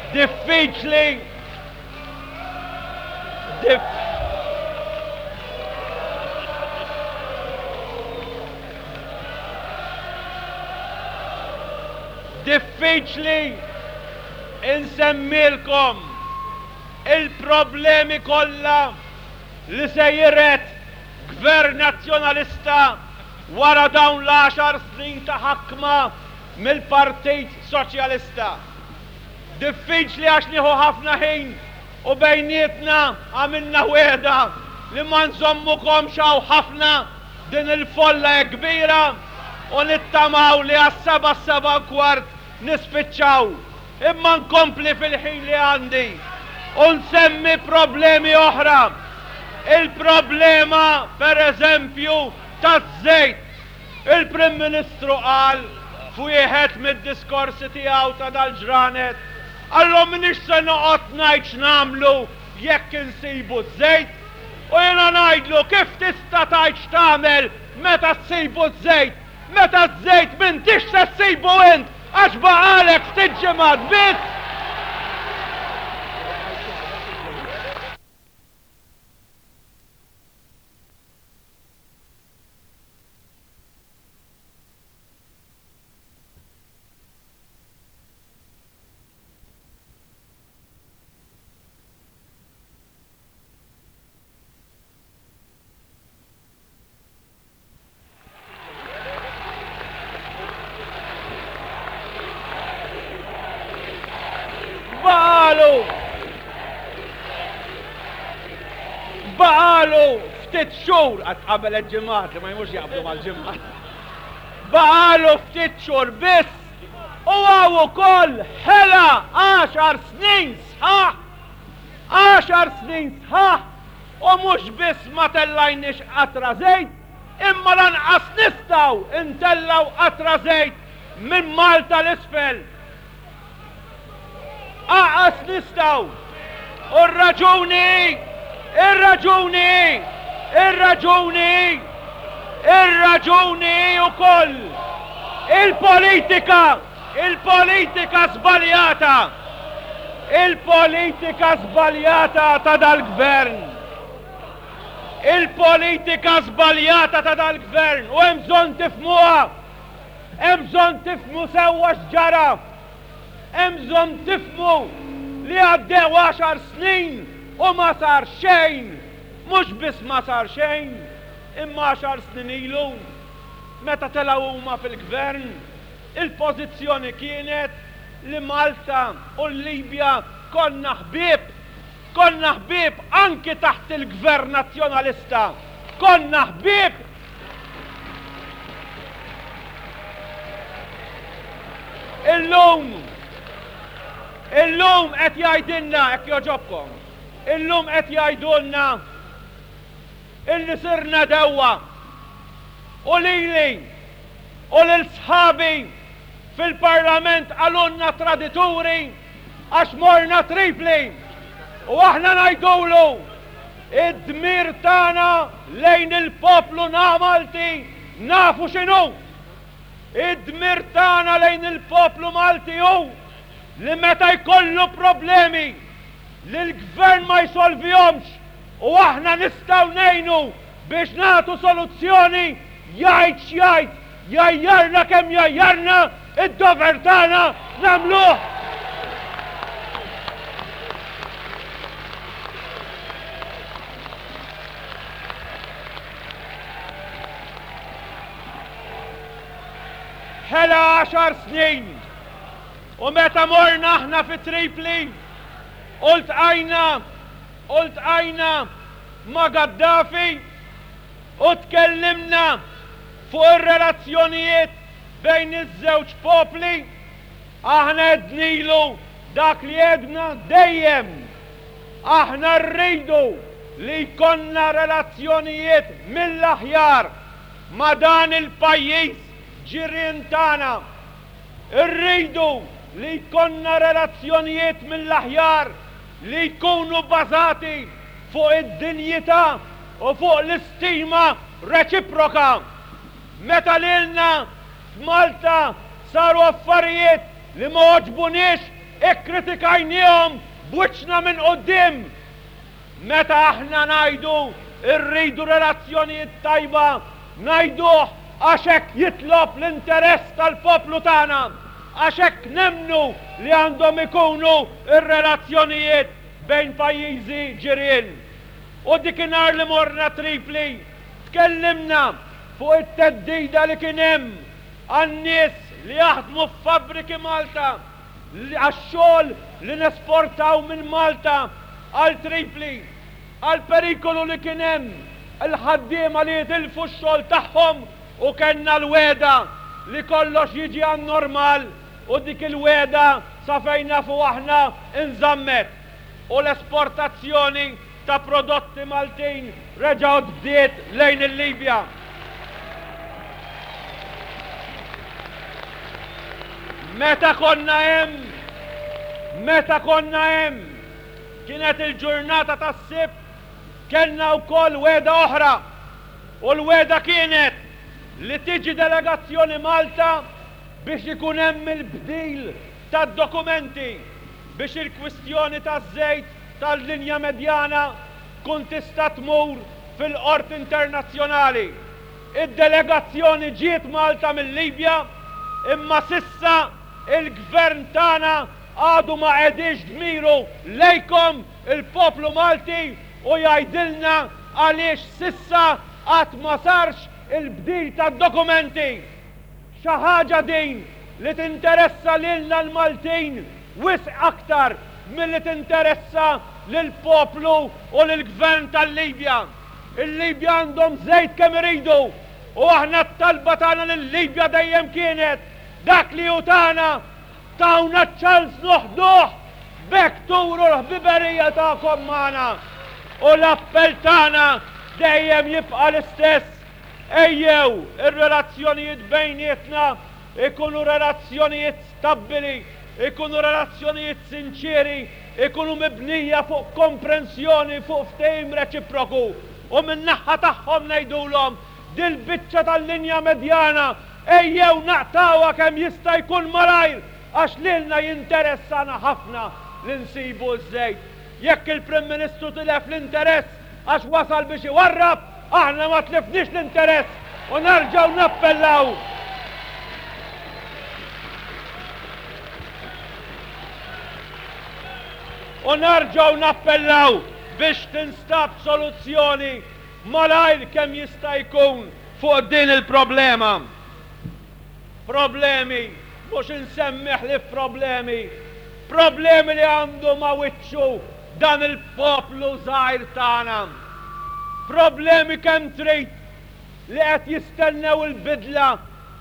Diffiċli Dif Diffiċli insemmilkom il-problemi kollha li se jiret Gvern Nazzjonalista wara dawn l-għaxar snin ta' ħakma mill-Partit Soċjalista. Diffiċli għax nieħu ħafna ħin u bejnietna għamilna wegħda li ma nżommukomx hawn ħafna din il-folla hekk kbira u nittamaw li għas-sebgħa s-sebgħa u kwart nispiċċaw. Imma nkompli fil-ħin li għandi u nsemmi problemi oħra. Il-problema, per eżempju, taż-żejt. Il-Prim Ministru qal f'wieħed mid-diskorsi tiegħu ta' dal-ġranet, Qalhom m'iniex se noqgħod ngħid x'nagħmlu jekk insibu ż-żejt. U jiena ngħidlu kif tista' tgħid x'tagħmel meta ssibu ż-żejt, meta ż-żejt m'intix se ssibu int għax baqagħlek ftit ġimgħat biss! Baqagħlu Baqagħlu ftit xhur għad qabel ġimgħat li ma jmux jaqblu mal-ġimgħat. Baqagħlu ftit xhur biss u hawn ukoll ħela għaxar snin sħaħ. Għaxar snin sħaħ u mhux biss ma tellajniex qatra żejt, imma lanqas nistgħu ntellgħu qatra żejt minn Malta 'l isfel. Aqas nistgħu. U r-raġuni hi, ir-raġuni hi, ir-raġuni hi, ir-raġuni hi wkoll il-politika, il-politika żbaljata, il-politika żbaljata ta' dal-gvern. Il-politika żbaljata ta' dal-gvern u hemm bżonn tifhmuha. Hemm bżonn tifhmu sewwa x'ġara. Hemm bżonn tifhmu li għaddew għaxar snin u ma sar xejn. Mhux biss ma sar xejn, imma għaxar snin ilu. Meta telgħu huma fil-Gvern, il-pożizzjoni kienet li Malta u l-Libja konna ħbieb. Konna ħbieb anki taħt il-Gvern Nazzjonalista. Konna ħbieb! Illum, illum qed jgħidilna, hekk jogħġobkom, illum qed jgħidulna illi sirna dewwa u lili u lil sħabi fil-Parlament qalulna tradituri għax morna Tripli u aħna ngħidulu id-dmir tagħna lejn il-poplu Malti nafu x'inhu. Id-dmir tagħna lejn il-poplu Malti hu li meta jkollu problemi li l-Gvern ma jsolvihomx u aħna nistgħu ngħinu biex nagħtu soluzzjoni, jgħid x'jgħid, jgħajjarna kemm jgħajjarna, id-dover tagħna nagħmluh! Ħela għaxar snin u meta morna aħna fi Tripli u ltqajna U ltqajna ma' Gaddafi u tkellimna fuq ir-relazzjonijiet bejn iż-żewġ popli. Aħna għednilu dak li għedna dejjem. Aħna rridu li jkollna relazzjonijiet mill-aħjar ma' dan il-pajjiż ġirien tagħna. Irridu li jkollna relazzjonijiet mill-aħjar li jkunu bażati fuq id-dinjità u fuq l-istima reċiproka. Meta lilna f'Malta saru affarijiet li ma għoġbuniex ikkritikajniehom b'wiċċna minn quddiem. Meta aħna ngħidu rridu relazzjonijiet tajba, ngħiduh għax hekk jitlob l-interess tal-poplu tagħna, għax hekk nemmnu li għandhom ikunu r-relazzjonijiet bejn pajjiżi ġirien. U dikinhar li morna Tripli, tkellimna fuq it-theddida li kien hemm għan-nies li jaħdmu f'fabbriki Malta, għax-xogħol li nesportaw minn Malta għal Tripli, għall-perikolu li kien hemm il-ħaddiema li jitilfu x-xogħol tagħhom u kellna l-wegħda li kollox jiġi għan-normal u dik il-wegħda sa fejn nafu aħna inżammet u l-esportazzjoni ta' prodotti Maltin reġgħet bdiet lejn il-Libja. Meta konna hemm, meta konna hemm, kienet il-ġurnata tas-Sibt, kellna wkoll wegħda oħra u l-wegħda kienet li tiġi delegazzjoni Malta biex ikun hemm il-bdil tad-dokumenti biex il-kwistjoni taż-żejt tal-linja medjana tkun tista' tmur fil-qorti internazzjonali. Id-delegazzjoni ġiet Malta mil-Libja imma s'issa il-Gvern tagħna għadu ma qegħdiex dmiru lejkom il-poplu Malti u jgħidilna għaliex s'issa għad ma sarx il-bdil tad-dokumenti. Xi ħaġa din li tinteressa lilna l-Maltin wisq aktar milli tinteressa lill-poplu u lill-Gvern tal-Libja. Il-Libja għandhom żejt kemm iridu u aħna t-talba tagħna lil-Libja dejjem kienet dak li hu tagħna tawna ċ-ċans noħduh b'hekk turu l-ħbiberija tagħkom magħna. U l-appell tagħna dejjem jibqa' l-istess, Ejjew ir-relazzjonijiet bejnietna jkunu relazzjonijiet stabbili, ikunu relazzjonijiet sinċieri, ikunu mibnija fuq komprensjoni, fuq ftehim reċiproku. U min-naħa tagħhom ngħidulhom, dil-biċċa tal-linja medjana ejjew naqtgħuha kemm jista' jkun malajr għax lilna jinteressana ħafna li nsibu ż-żejt. Jekk il-Prim Ministru tilef l-interess għax wasal biex iwarrab, aħna ma tlifniex l-interess u nerġgħu nappellaw. U nerġgħu nappellaw biex tinstab soluzzjoni malajr kemm jista' jkun. fuq din il-problema. Problemi, mhux insemmi ħlief problemi, problemi li għandu ma' wiċċu dan il-poplu żgħir tagħna. Problemi kemm trid li qed jistennew il-bidla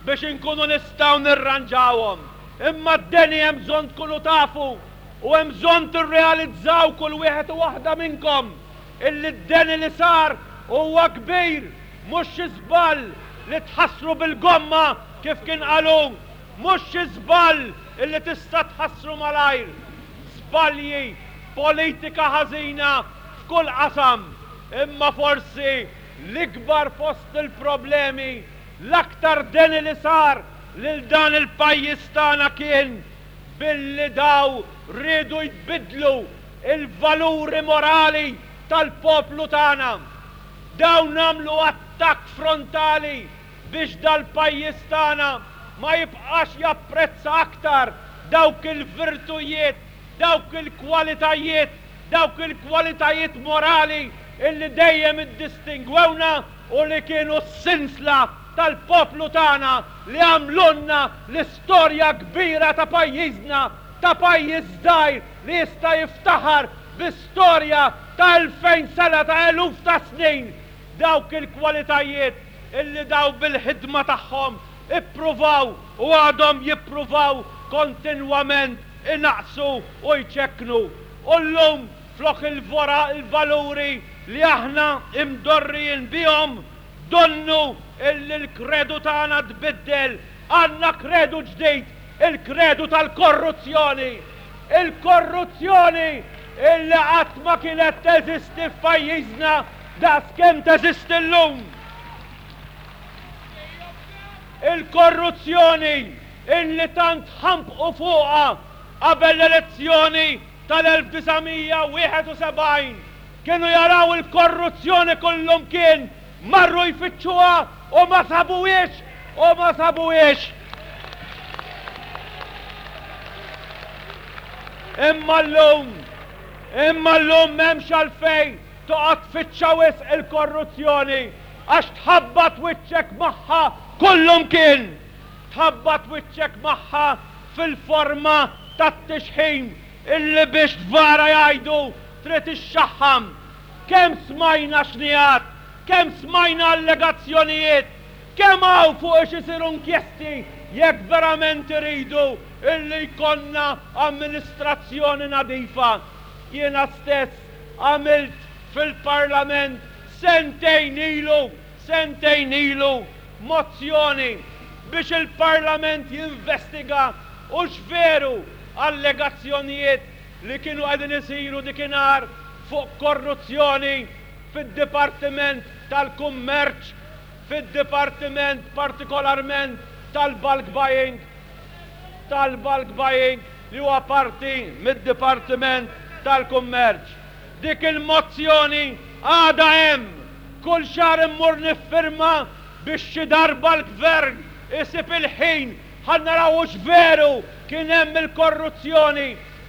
biex inkunu nistgħu nirranġawhom. Imma d-deni hemm bżonn tkunu tafu u hemm bżonn tirrealizzaw kull wieħed u waħda minnkom illi d-deni li sar huwa kbir, mhux xi żball li tħassru bil-gomma kif kien qal hu, mhux xi żball illi tista' tħassru malajr. Żbalji, politika ħażina f'kull qasam, imma forsi l-ikbar fost il-problemi, l-aktar deni li sar lil dan il-pajjiż tagħna kien billi daw riedu jbiddlu il-valuri morali tal-poplu tagħna. Dawn għamlu attakk frontali biex dal-pajjiż tagħna ma jibqax japprezza aktar dawk il-virtujiet, dawk il-kwalitajiet, dawk il-kwalitajiet morali illi dejjem iddistingwewna u li kienu s-sinsla tal-poplu tagħna li għamlulna l-istorja kbira ta' pajjiżna, ta' pajjiż żgħir li jista' jiftaħar bi storja ta' 2000 sena, ta' eluf ta' snin. Dawk il-kwalitajiet illi daw bil-ħidma tagħhom ippruvaw u għadhom jippruvaw kontinwament inaqqsu u jċekknu. U llum flok il-vora l-valuri li aħna imdorrijin bihom, donnu illi l-kredu tagħna tbiddel, għandna kredu ġdid, il-kredu tal-korruzzjoni. Il-korruzzjoni illi qatt ma kienet teżisti f'pajjiżna daqskemm teżisti llum. Il-korruzzjoni illi tant ħampqu fuqha qabel l-elezzjoni tal-1971. Kienu jaraw il-korruzzjoni kullumkien, marru jfittxuha u ma sabuhiex, u ma sabuhiex. Imma llum, imma llum m'hemmx għalfejn toqgħod tfittxha wisq il-korruzzjoni għax tħabbat wiċċek magħha kullumkien. Tħabbat wiċċek magħha fil-forma tat-tixħim illi biex tvara jgħidu trid ixxaħħam. Kemm smajna xnigħat, kemm smajna allegazzjonijiet, kemm hawn fuq ix isiru inkjesti jekk verament iridu illi jkollna amministrazzjoni nadifa. Jiena stess għamilt fil-Parlament sentejn ilu, sentejn ilu, mozzjoni biex il-Parlament jinvestiga hux veru allegazzjonijiet li kienu qegħdin isiru dikinhar fuq korruzzjoni fid-Dipartiment tal-Kummerċ, fid-Dipartiment partikolarment tal-bulk buying, tal-bulk buying li huwa parti mid-Dipartiment tal-Kummerċ. Dik il-mozzjoni għadha hemm. Kull xahar immur niffirma biex xi darba l-Gvern isib il-ħin ħa naraw hux veru kien hemm il-korruzzjoni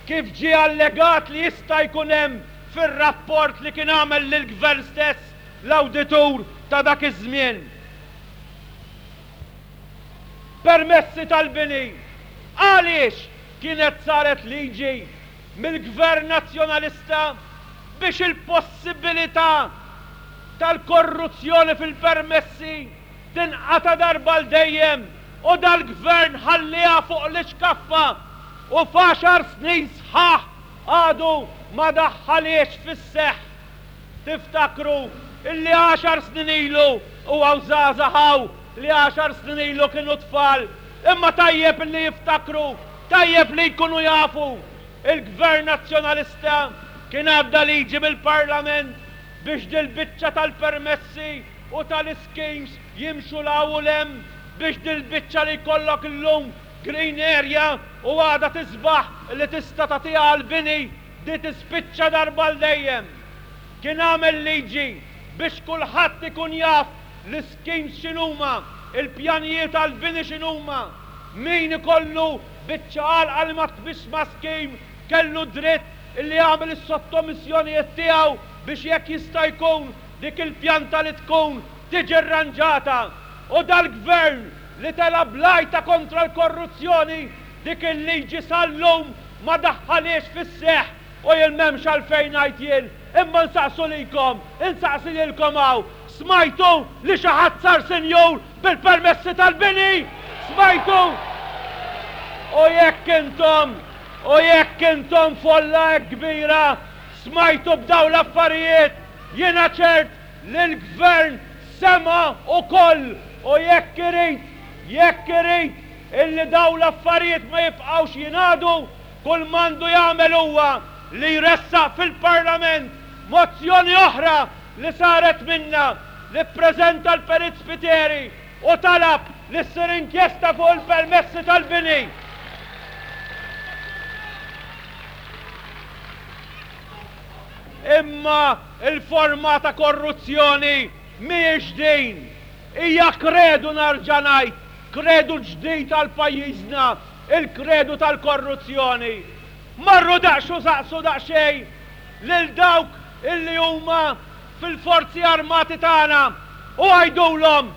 kif ġie allegat li jista' jkun hemm fir-rapport li kien għamel lill-Gvern stess l-awditur ta' dak iż-żmien. Permessi tal-bini. Għaliex kienet saret liġi mill-Gvern Nazzjonalista biex il-possibilità tal-korruzzjoni fil-permessi tinqata' darba għal dejjem u dal-Gvern ħallieha fuq l-ixkaffa u f'għaxar snin sħaħ għadu ma daħħalhiex fis-seħħ. Tiftakru illi għaxar snin ilu, u hawn żgħażagħ hawn li għaxar snin ilu kienu tfal, imma tajjeb illi jiftakru, tajjeb li jkunu jafu, il-Gvern Nazzjonalista kien għadda liġi mill-Parlament biex dil-biċċa tal-permessi u tal-ischemes jimxu 'l hawn u 'l hemm biex dil-biċċa li jkollok illum green area u għada tisbaħ li tista' tagħtiha għall-bini di tispiċċa darba għal dejjem. Kien għamel liġi biex kulħadd ikun jaf l-ischemes x'inhuma, il-pjanijiet għall-bini x'inhuma. Min ikollu biċċa għalqa li ma tmissx ma' scheme kellu dritt li jagħmel is-sottomissjonijiet tiegħu biex jekk jista' jkun dik il-pjanta li tkun. tiġi rranġata u dal-Gvern li tela' bl-għajta kontra l-korruzzjoni dik il-liġi sal-lum ma daħħalhiex fis-seħħ u jien m'hemmx għalfejn ngħid jien imma nsaqsu likom, insaqsi lilkom hawn, smajtu li xi ħadd sar sinjur bil-permessi tal-bini? Smajtu? U jekk intom, u jekk intom folla hekk kbira, smajtu b'dawn l-affarijiet, jiena ċert li l-Gvern sema' ukoll u jekk irid, jekk irid illi dawn l-affarijiet ma jibqgħux jingħadu, kull m'għandu jagħmel huwa li jressaq fil-Parlament mozzjoni oħra li saret minna li ppreżenta l-Perit Spiteri u talab li ssir inkjesta fuq il-permessi tal-bini. Imma l-forma ta' korruzzjoni mhijiex din. Hija kredu narġa' ngħid, kredu ġdid għal pajjiżna, il-kredu tal-korruzzjoni. Marru daqsxu saqsu daqsxejn lil dawk illi huma fil-forzi armati tagħna u għidulhom,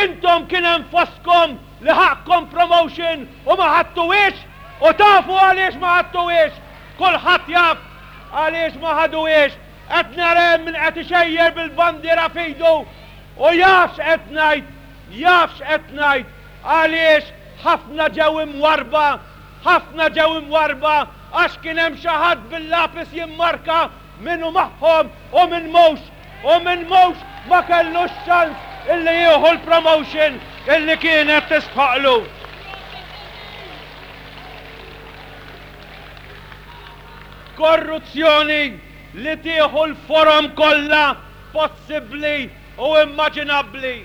intom kien hemm fostkom li ħaqqkom promotion u ma ħadtuhiex u tafu għaliex ma ħadtuhiex. Kulħadd jaf għaliex ma ħaduhiex. Qed nara hemm min qed ixejjer bil-bandiera f'idu u jaf x'qed ngħid, jaf x'qed ngħid għaliex ħafna ġew imwarrba, ħafna ġew imwarrba għax kien hemm xi ħadd bil-lapis jimmarka min hu magħhom u min mhux, u min mhux ma kellux ċans illi jieħu l-promotion illi kienet tistħoqqlu. Korruzzjoni li tieħu l-forom kollha possibbli u immaġinabbli.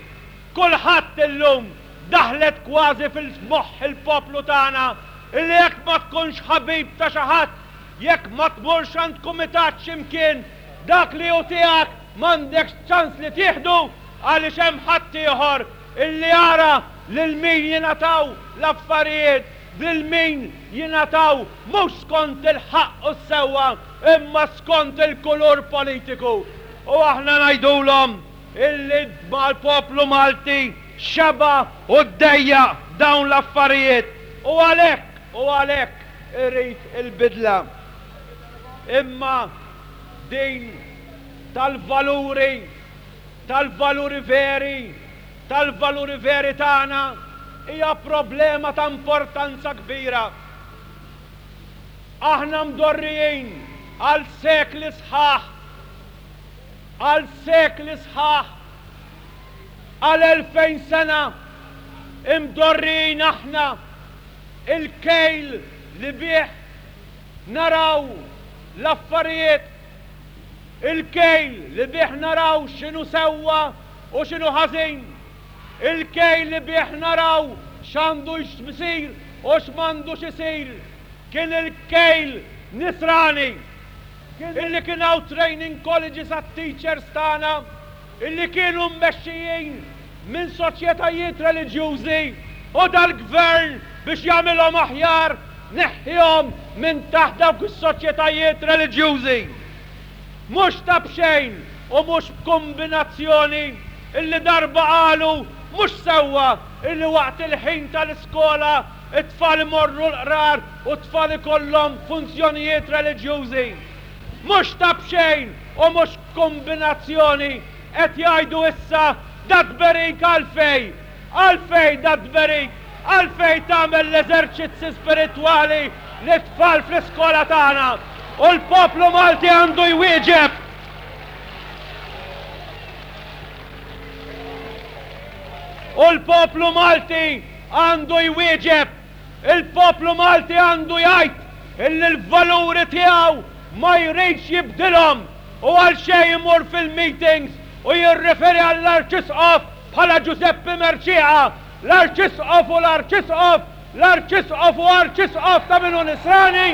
Kulħadd illum daħlet kważi fil-moħħ il-poplu tagħna illi jekk ma tkunx ħabib ta' xi ħadd, jekk ma tmurx għand kumitat xi mkien, dak li hu tiegħek m'għandekx ċans li tieħdu għaliex hemm ħaddieħor illi jara lil min jingħataw l-affarijiet, lil min jingħataw mhux skont il-ħaqq u s-sewwa imma skont il-kulur politiku. U aħna ngħidulhom illi l-poplu Malti xeba' u ddejjaq dawn l-affarijiet u għalhekk, u għalhekk irid il-bidla. Imma din tal-valuri, tal-valuri veri, tal-valuri veri tagħna hija problema ta' importanza kbira. Aħna mdorrijin għal sekli sħaħ, għal sekli sħaħ, għal 2000 sena imdorrijin aħna il-kejl li bih naraw l-affarijiet, il-kejl li bih naraw x'inhu sewwa u x'inhu ħażin, il-kejl li bih naraw x'għandu jsir u x'm'għandux isir, kien il-kejl Nisrani. Illi kien hawn training colleges għat-teachers tagħna illi kienu mmexxijin minn soċjetajiet reliġjużi u dal-Gvern biex jagħmilhom aħjar neħħihom minn taħt dawk is-soċjetajiet reliġjużi. Mhux ta' b'xejn u mhux b'kumbinazzjoni illi darba qalu mhux sewwa illi waqt il-ħin tal-iskola t-tfal imorru l-qrar u t-tfal ikollhom funzjonijiet reliġjużi. Mhux ta' b'xejn u mhux b'kumbinazzjoni qed jgħidu issa dat-tberik għalfejn? Għalfejn dat-tberik? Għalfejn tagħmel l-eżerċizzi spiritwali lit-tfal fl-iskola tagħna? U l-poplu Malti għandu jwieġeb! U l-poplu Malti għandu jwieġeb! Il-poplu Malti għandu jgħid illi l-valuri tiegħu ma jridx jibdilhom u għalxejn imur fil-meetings u jirriferi għall-Arċisqof bħala Ġużeppi Mercieca L-Arċisqof hu l-Arċisqof, l-Arċisqof hu Arċisqof ta' min hu Nisrani.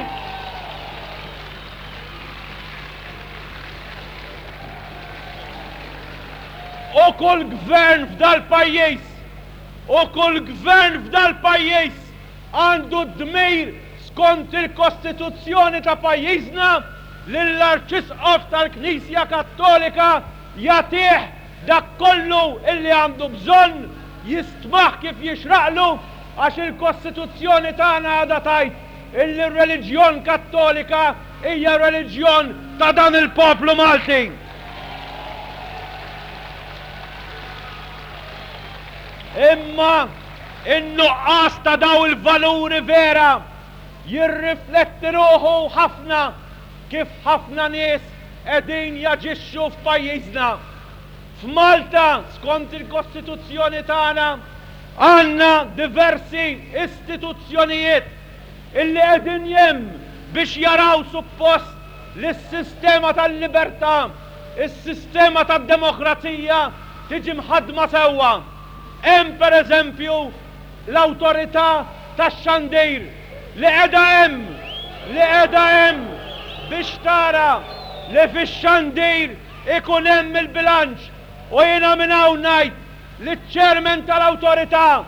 U kull gvern f'dal-pajjiż, u kull gvern f'dal-pajjiż għandu d-dmir skont il-Kostituzzjoni ta' pajjiżna lill-Arċisqof tal-Knisja Kattolika jagħtih. dak kollu illi għandu bżonn, jistmah kif jixraqlu għax il-Kostituzzjoni tagħna għadha tgħid illi r-reliġjon Kattolika hija reliġjon ta' dan il-poplu Malti. Imma in-nuqqas ta' daw il-valuri vera jirrifletti ruħu ħafna kif ħafna nies qegħdin jaġixxu f'pajjiżna. F'Malta, skont il-Kostituzzjoni tagħna, għandna diversi istituzzjonijiet illi qegħdin hemm biex jaraw suppost li s-sistema tal-libertà, is-sistema tad-demokrazija tiġi mħaddma sewwa. Hemm per eżempju l-Awtorità tax-Xandir li qiegħda hemm, li qiegħda hemm biex tara li fix-xandir ikun hemm il-bilanċ u jiena minn hawn ngħid liċ-Chairman tal-Awtorità,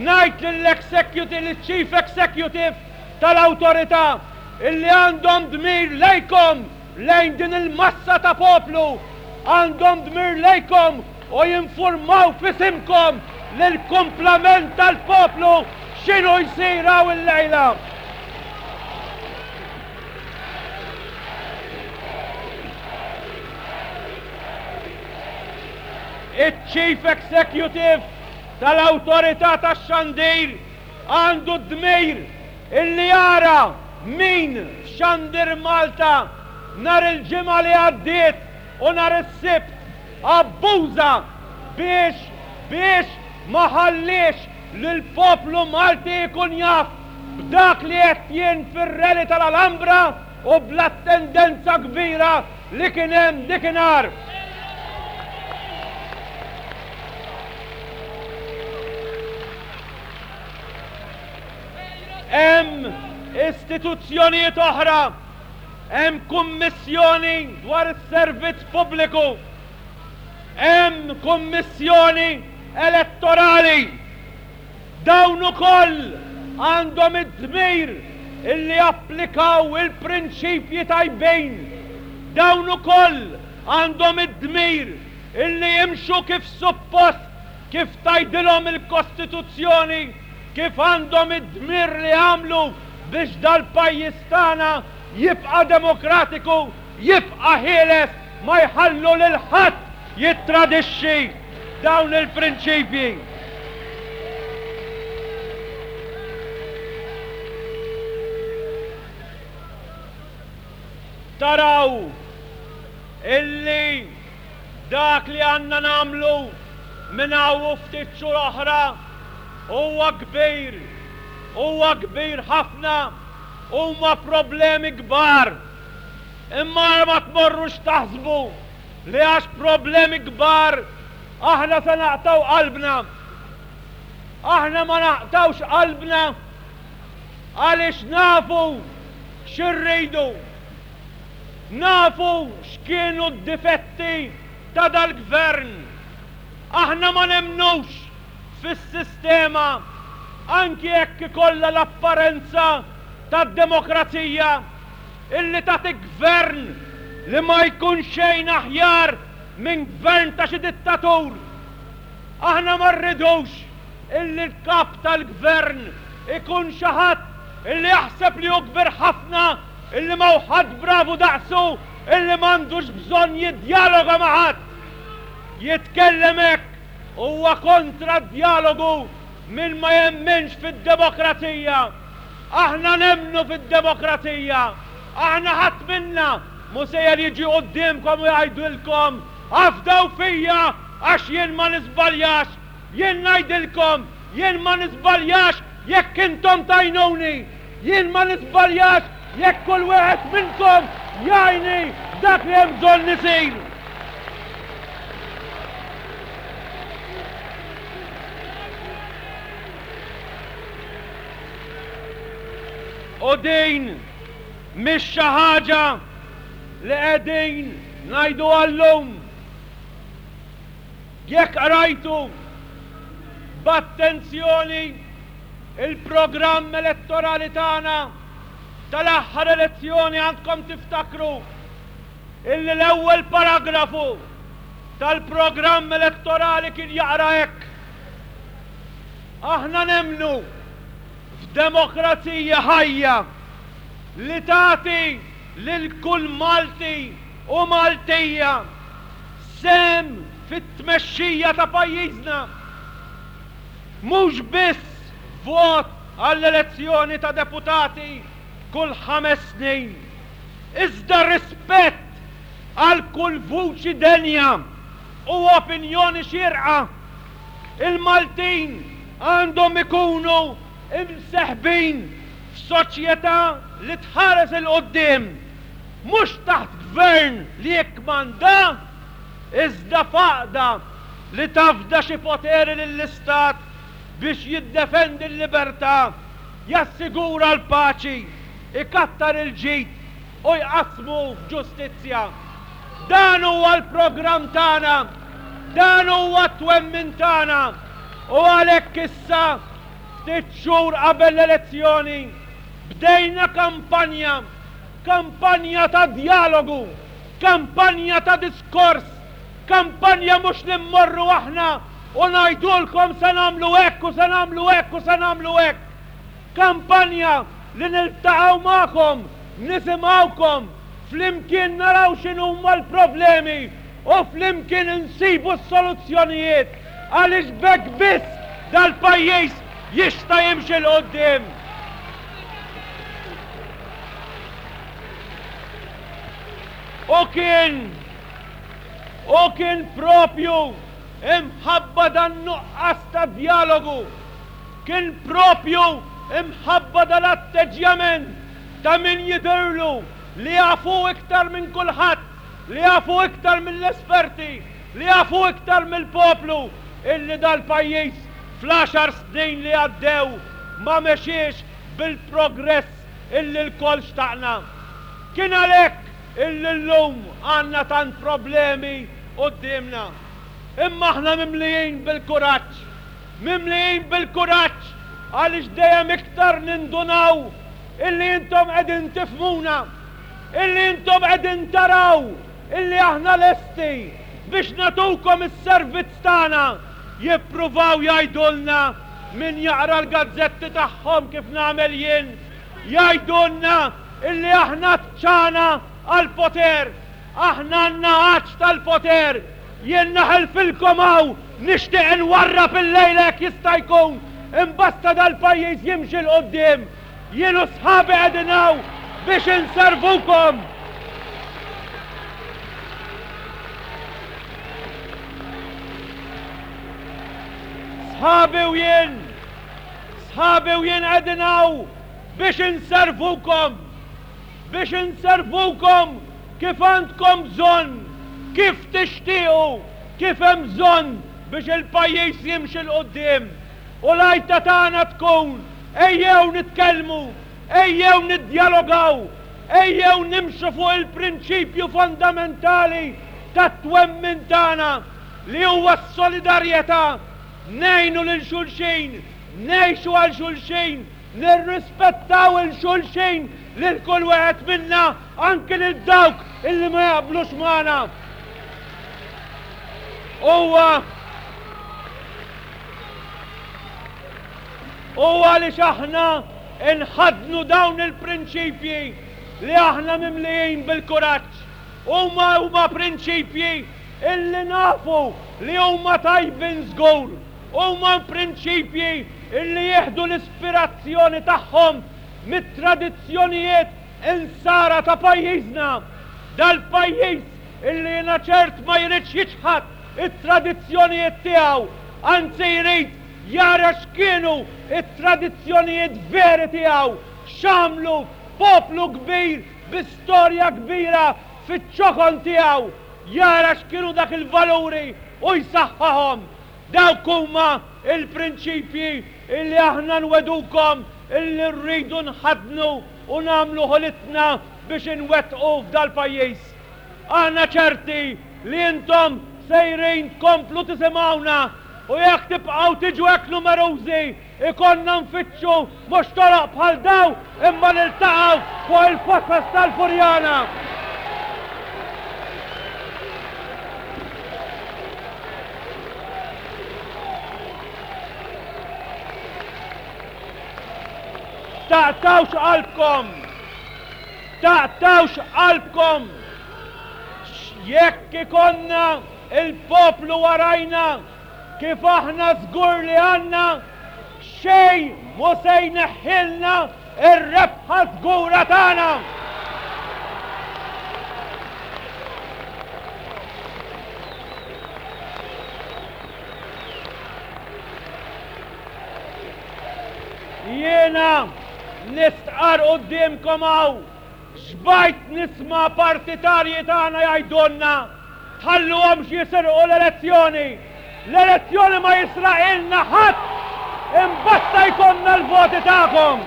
ngħid lill-Executive, liċ-Chief Executive tal-Awtorità illi għandhom dmir lejkom, lejn din il-massa ta' poplu, għandhom dmir lejkom u jinfurmaw f'isimkom lill-kumplament tal-poplu x'inhu jsir hawn illejla. Iċ-Chief Executive tal-Awtorità tax-Xandir għandu d-dmir illi jara min f'Xandir Malta nhar il-Ġimgħa li għaddiet u nhar is-Sibt abbuża biex biex ma ħalliex lill-poplu Malti jkun jaf b'dak li għedt jien fir-rally tal-Alhambra u bl-attendenza kbira li kien hemm dikinhar. Hemm istituzzjonijiet oħra, hemm kummissjoni dwar is-servizz pubbliku, hemm kummissjoni elettorali. Dawn ukoll għandhom id-dmir illi japplikaw il-prinċipji tajbin. Dawn ukoll għandhom id-dmir illi jimxu kif suppost, kif tgħidilhom il-Kostituzzjoni, kif għandhom id-dmir li jagħmlu biex dal-pajjiż tagħna jibqa' demokratiku, jibqa' ħieles, ma jħallu lil ħadd jittradixxi dawn il-prinċipji. Taraw illi dak li għandna nagħmlu minn hawn u ftit xhur oħra huwa kbir, huwa kbir ħafna, huma problemi kbar. Imma ara ma tmorrux taħsbu li għax problemi kbar aħna se naqtgħu qalbna. Aħna ma naqtgħux qalbna għaliex nafu x'irridu. Nafu x'kienu d-difetti ta' dal-gvern. Aħna ma nemmnux fis-sistema anki jekk ikollha l-apparenza tad-demokrazija illi tagħti gvern li ma jkun xejn aħjar minn gvern ta' xi dittatur. Aħna ma rridux illi l-kap tal-gvern ikun xi ħadd illi jaħseb li hu kbir ħafna, illi m'hawn ħadd bravu daqsu, illi m'għandux bżonn jiddjaloga ma' ħadd. Jitkellem hekk huwa kontra d-djalogu min ma jemminx fid-demokrazija. Aħna nemmnu fid-demokrazija. Aħna ħadd minna mhu sejjer jiġi quddiemkom u jgħidilkom afdaw fija għax jien ma niżbaljax. Jien ngħidilkom, jien ma niżbaljax jekk intom tgħinuni. Jien ma niżbaljax jekk kull wieħed minnkom jgħinni f'dak li hemm bżonn isir. U din mhix xi ħaġa li qegħdin ngħiduha llum. Jekk qrajtu b'attenzjoni il-programm elettorali tagħna tal-aħħar elezzjoni għandkom tiftakru illi l-ewwel paragrafu. tal-programm elettorali kien jaqra hekk, Aħna nemmnu f'demokrazija ħajja li tagħti lil kull Malti u Maltija sehem fit-tmexxija ta' pajjiżna. Mhux biss vot għall-elezzjoni ta' deputati kull ħames snin, iżda rispett għal kull vuċi denja u opinjoni xierqa. Il-Maltin għandhom ikunu imseħbin f'soċjetà li tħares 'il quddiem, mhux taħt gvern li jikkmanda, iżda f'għaqda li tafda xi poteri lill-Istat biex jiddefendi l-libertà, jassigura l-paċi, ikattar il-ġid u jqassmu f'ġustizzja. Dan huwa l-programm tagħna, dan huwa t-twemmin tagħna u għalhekk issa, ftit xhur qabel l-elezzjoni, bdejna kampanja, kampanja ta' djalogu, kampanja ta' diskors, kampanja mhux li mmorru aħna u ngħidulkom se nagħmlu hekk u se nagħmlu hekk u se nagħmlu hekk. Kampanja li niltaqgħu magħkom, nisimgħukom, flimkien naraw x'inhuma l-problemi u flimkien insibu s-soluzzjonijiet għaliex b'hekk biss dal-pajjiż jista' jimxi 'l quddiem. U kien u kien propju imħabba dan-nuqqas ta' djalogu, kien propju imħabba dal-atteġġjament ta' min jidhirlu li jaf hu iktar minn kulħadd, li jaf hu iktar mill-esperti, li jaf hu iktar mill-poplu illi dal-pajjiż fl-għaxar snin li għaddew ma mexiex bil-progress illi lkoll xtaqna. Kien għalhekk illi llum għandna tant problemi quddiemna. Imma aħna mimlijin bil-kuraġġ. Mimlijin bil-kuraġġ għaliex dejjem iktar nindunaw illi intom qegħdin tifhmuna, illi intom qegħdin taraw illi aħna lesti biex nagħtukom is-servizz tagħna. Jippruvaw jgħidulna min jaqra l-gazzetti tagħhom kif nagħmel jien, jgħidulna illi aħna tċana għall-poter, aħna għandna għatx tal-poter. Jien naħilfilkom hawn nixtieq inwarrab illejla jekk jista' jkun, imbasta dal-pajjiż jimxi 'l quddiem. Jien u sħabi qegħdin hawn biex inservukom. Sħabi u jien, sħabi u jien qegħdin hawn biex inservukom, biex inservukom kif għandkom bżonn, kif tixtiequ, kif hemm bżonn biex il-pajjiż jimxi 'l quddiem. U l-għajta tagħna tkun, ejjew nitkellmu, ejjew niddjalogaw, ejjew nimxu fuq il-prinċipju fondamentali tat-twemmin tagħna li huwa s-solidarjetà, ngħinu lil xulxin, ngħixu għal xulxin, Nirrispettaw 'il xulxin, lil kull wieħed minna, anki lil dawk illi ma jaqblux magħna. Huwa u għaliex aħna nħaddnu dawn il-prinċipji li aħna mimlijin bil-kuraġġ. Huma huma prinċipji illi nafu li huma tajbin żgur. Huma prinċipji illi jieħdu l-ispirazzjoni tagħhom mit-tradizzjonijiet Insara ta' pajjiżna. Dal-pajjiż illi jiena ċert ma jridx jiċħad it-tradizzjonijiet tiegħu, anzi jrid jara x'kienu t-tradizzjonijiet veri tiegħu, x'għamlu poplu kbir bi storja kbira fiċ-ċokon tiegħu, jara x'kienu dak il-valuri u jsaħħahom. Dawk huma l-prinċipji illi aħna nwegħdukom illi rridu nħaddnu u nagħmlu ħolitna biex inwettqu f'dal-pajjiż. Aħna ċerti li intom sejrin tkomplu tisimgħuna u jekk tibqgħu tiġu hekk numerużi ikollna nfittxu mhux toroq bħal dawn imma niltaqgħu fuq il-fosos tal-Furjana. taqtgħux qalbkom! Taqtgħux qalbkom! Jekk ikollna l-poplu warajna kif aħna żgur li għandna, xejn mhu se jneħħilna r-rebħa żgura tagħna! Jiena nistqarr quddiemkom hawn, xbajt nisma' partitarji tagħna jgħidulna, tħalluhomx jisirqu l-elezzjoni! L-elezzjoni ma jisraqilna ħadd! Imbasta jkollna l-voti tagħkom!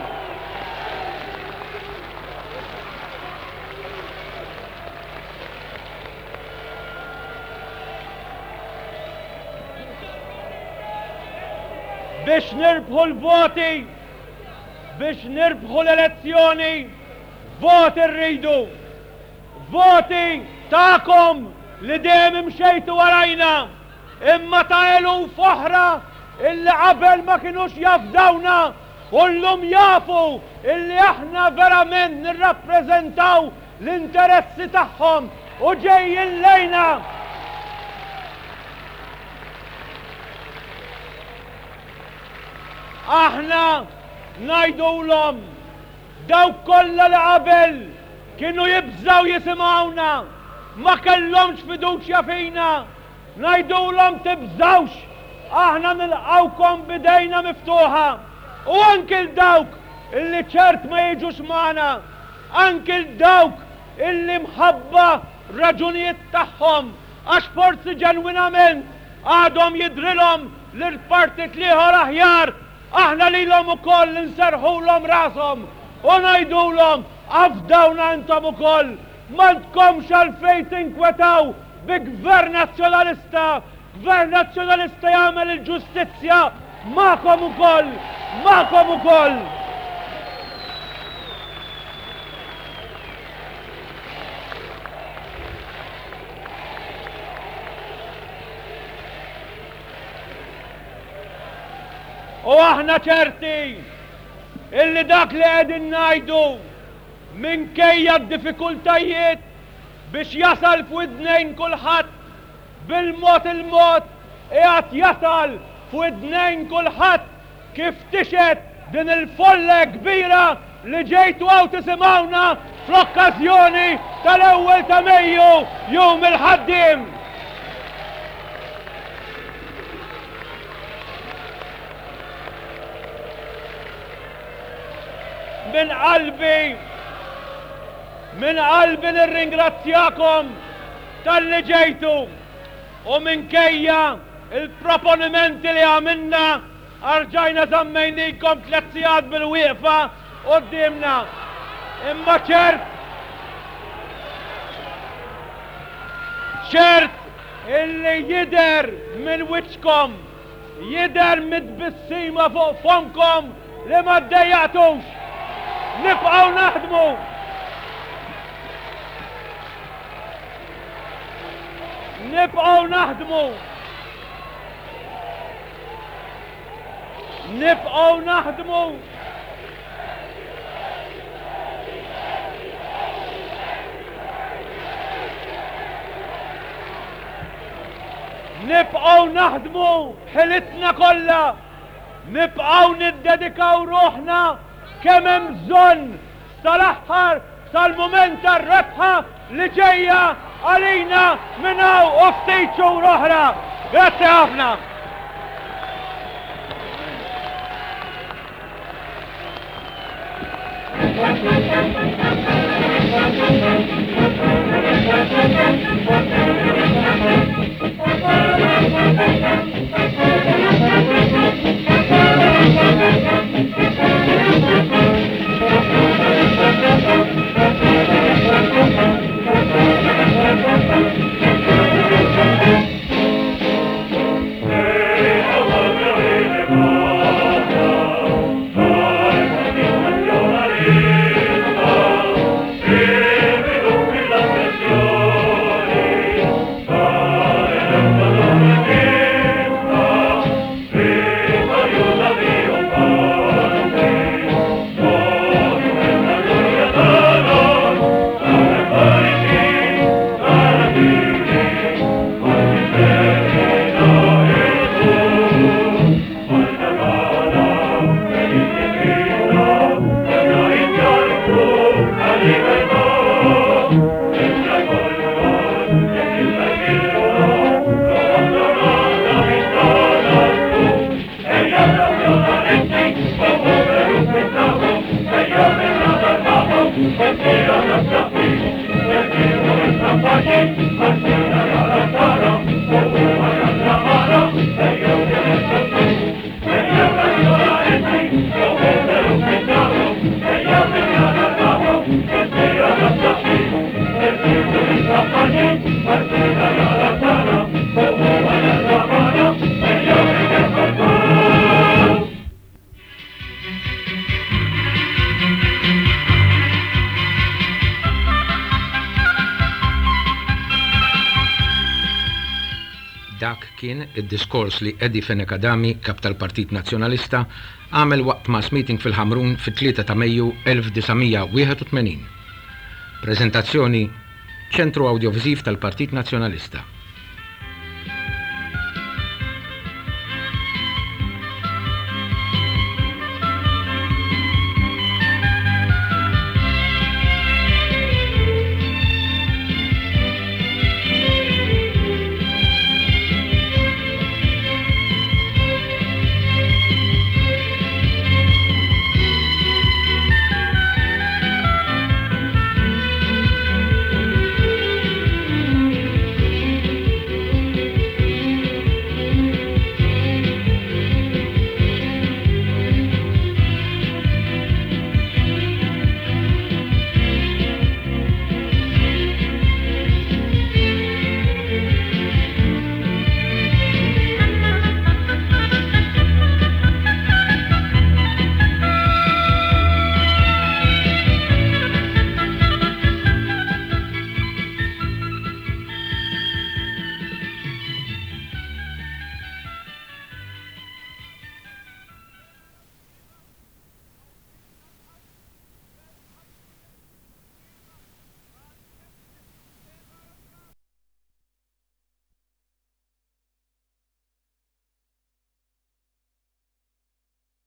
Biex nirbħu l-voti, biex nirbħu l-elezzjoni, voti rridu. Voti tagħkom li dejjem imxejtu warajna, imma ta' eluf oħra illi qabel ma kinux jafdawna u llum jafu illi aħna verament nirrappreżentaw l-interessi tagħhom u ġejjin lejna. Aħna ngħidulhom dawk kollha li qabel kienu jibżgħu jisimgħuna, ma kellhomx fiduċja fina, ngħidulhom tibżgħux, aħna nilqgħukom b'idejna miftuħa. U anki 'l dawk illi ċert ma jiġux magħna, anki 'l dawk illi mħabba raġunijiet tagħhom, għax forsi ġenwinament għadhom jidhrilhom li l-partit l-ieħor aħjar, aħna lilhom ukoll inserrħulhom rashom u ngħidulhom afdawna intom ukoll, m'għandkomx għalfejn tinkwetaw bi Gvern Nazzjonalista, Gvern Nazzjonalista jagħmel il-ġustizzja magħkom ukoll, magħkom ukoll. U aħna ċerti illi dak li qegħdin ngħidu minkejja d-diffikultajiet biex jasal f'widnejn kulħadd Bil-mod il-mod qiegħed jasal f'widnejn kulħadd kif tixhed din il-folla hekk kbira li ġejtu hawn tisimgħuna fl-okkażjoni tal-ewwel ta' Mejju, Jum il-Ħaddiem. Minn qalbi, minn qalbi nirringrazzjakom Talli ġejtu u minkejja l-proponimenti li għamilna rġajna żammejnikom tlett sigħat bil-wieqfa quddiemna. Imma ċert, ċert illi jidher minn wiċċkom, jidher mit-tbissima fuq fommkom li ma ddejjaqtux. Nibqgħu naħdmu. Nibqgħu naħdmu. Nibqgħu naħdmu. Nibqgħu naħdmu b'ħilitna kollha. Nibqgħu niddedikaw ruħna kemm hemm bżonn sal-aħħar, sal-mument tar-rebħa li ġejja għalina minn hawn u ftit xhur oħra. Grazzi ħafna. Dak kien id-diskors li Eddie Fenech Adami, Kap tal-Partit Nazzjonalista, għamel waqt mass meeting fil-Ħamrun fit-3 ta' Mejju 1981. Preżentazzjoni, Ċentru Awdjoviżiv tal-Partit Nazzjonalista.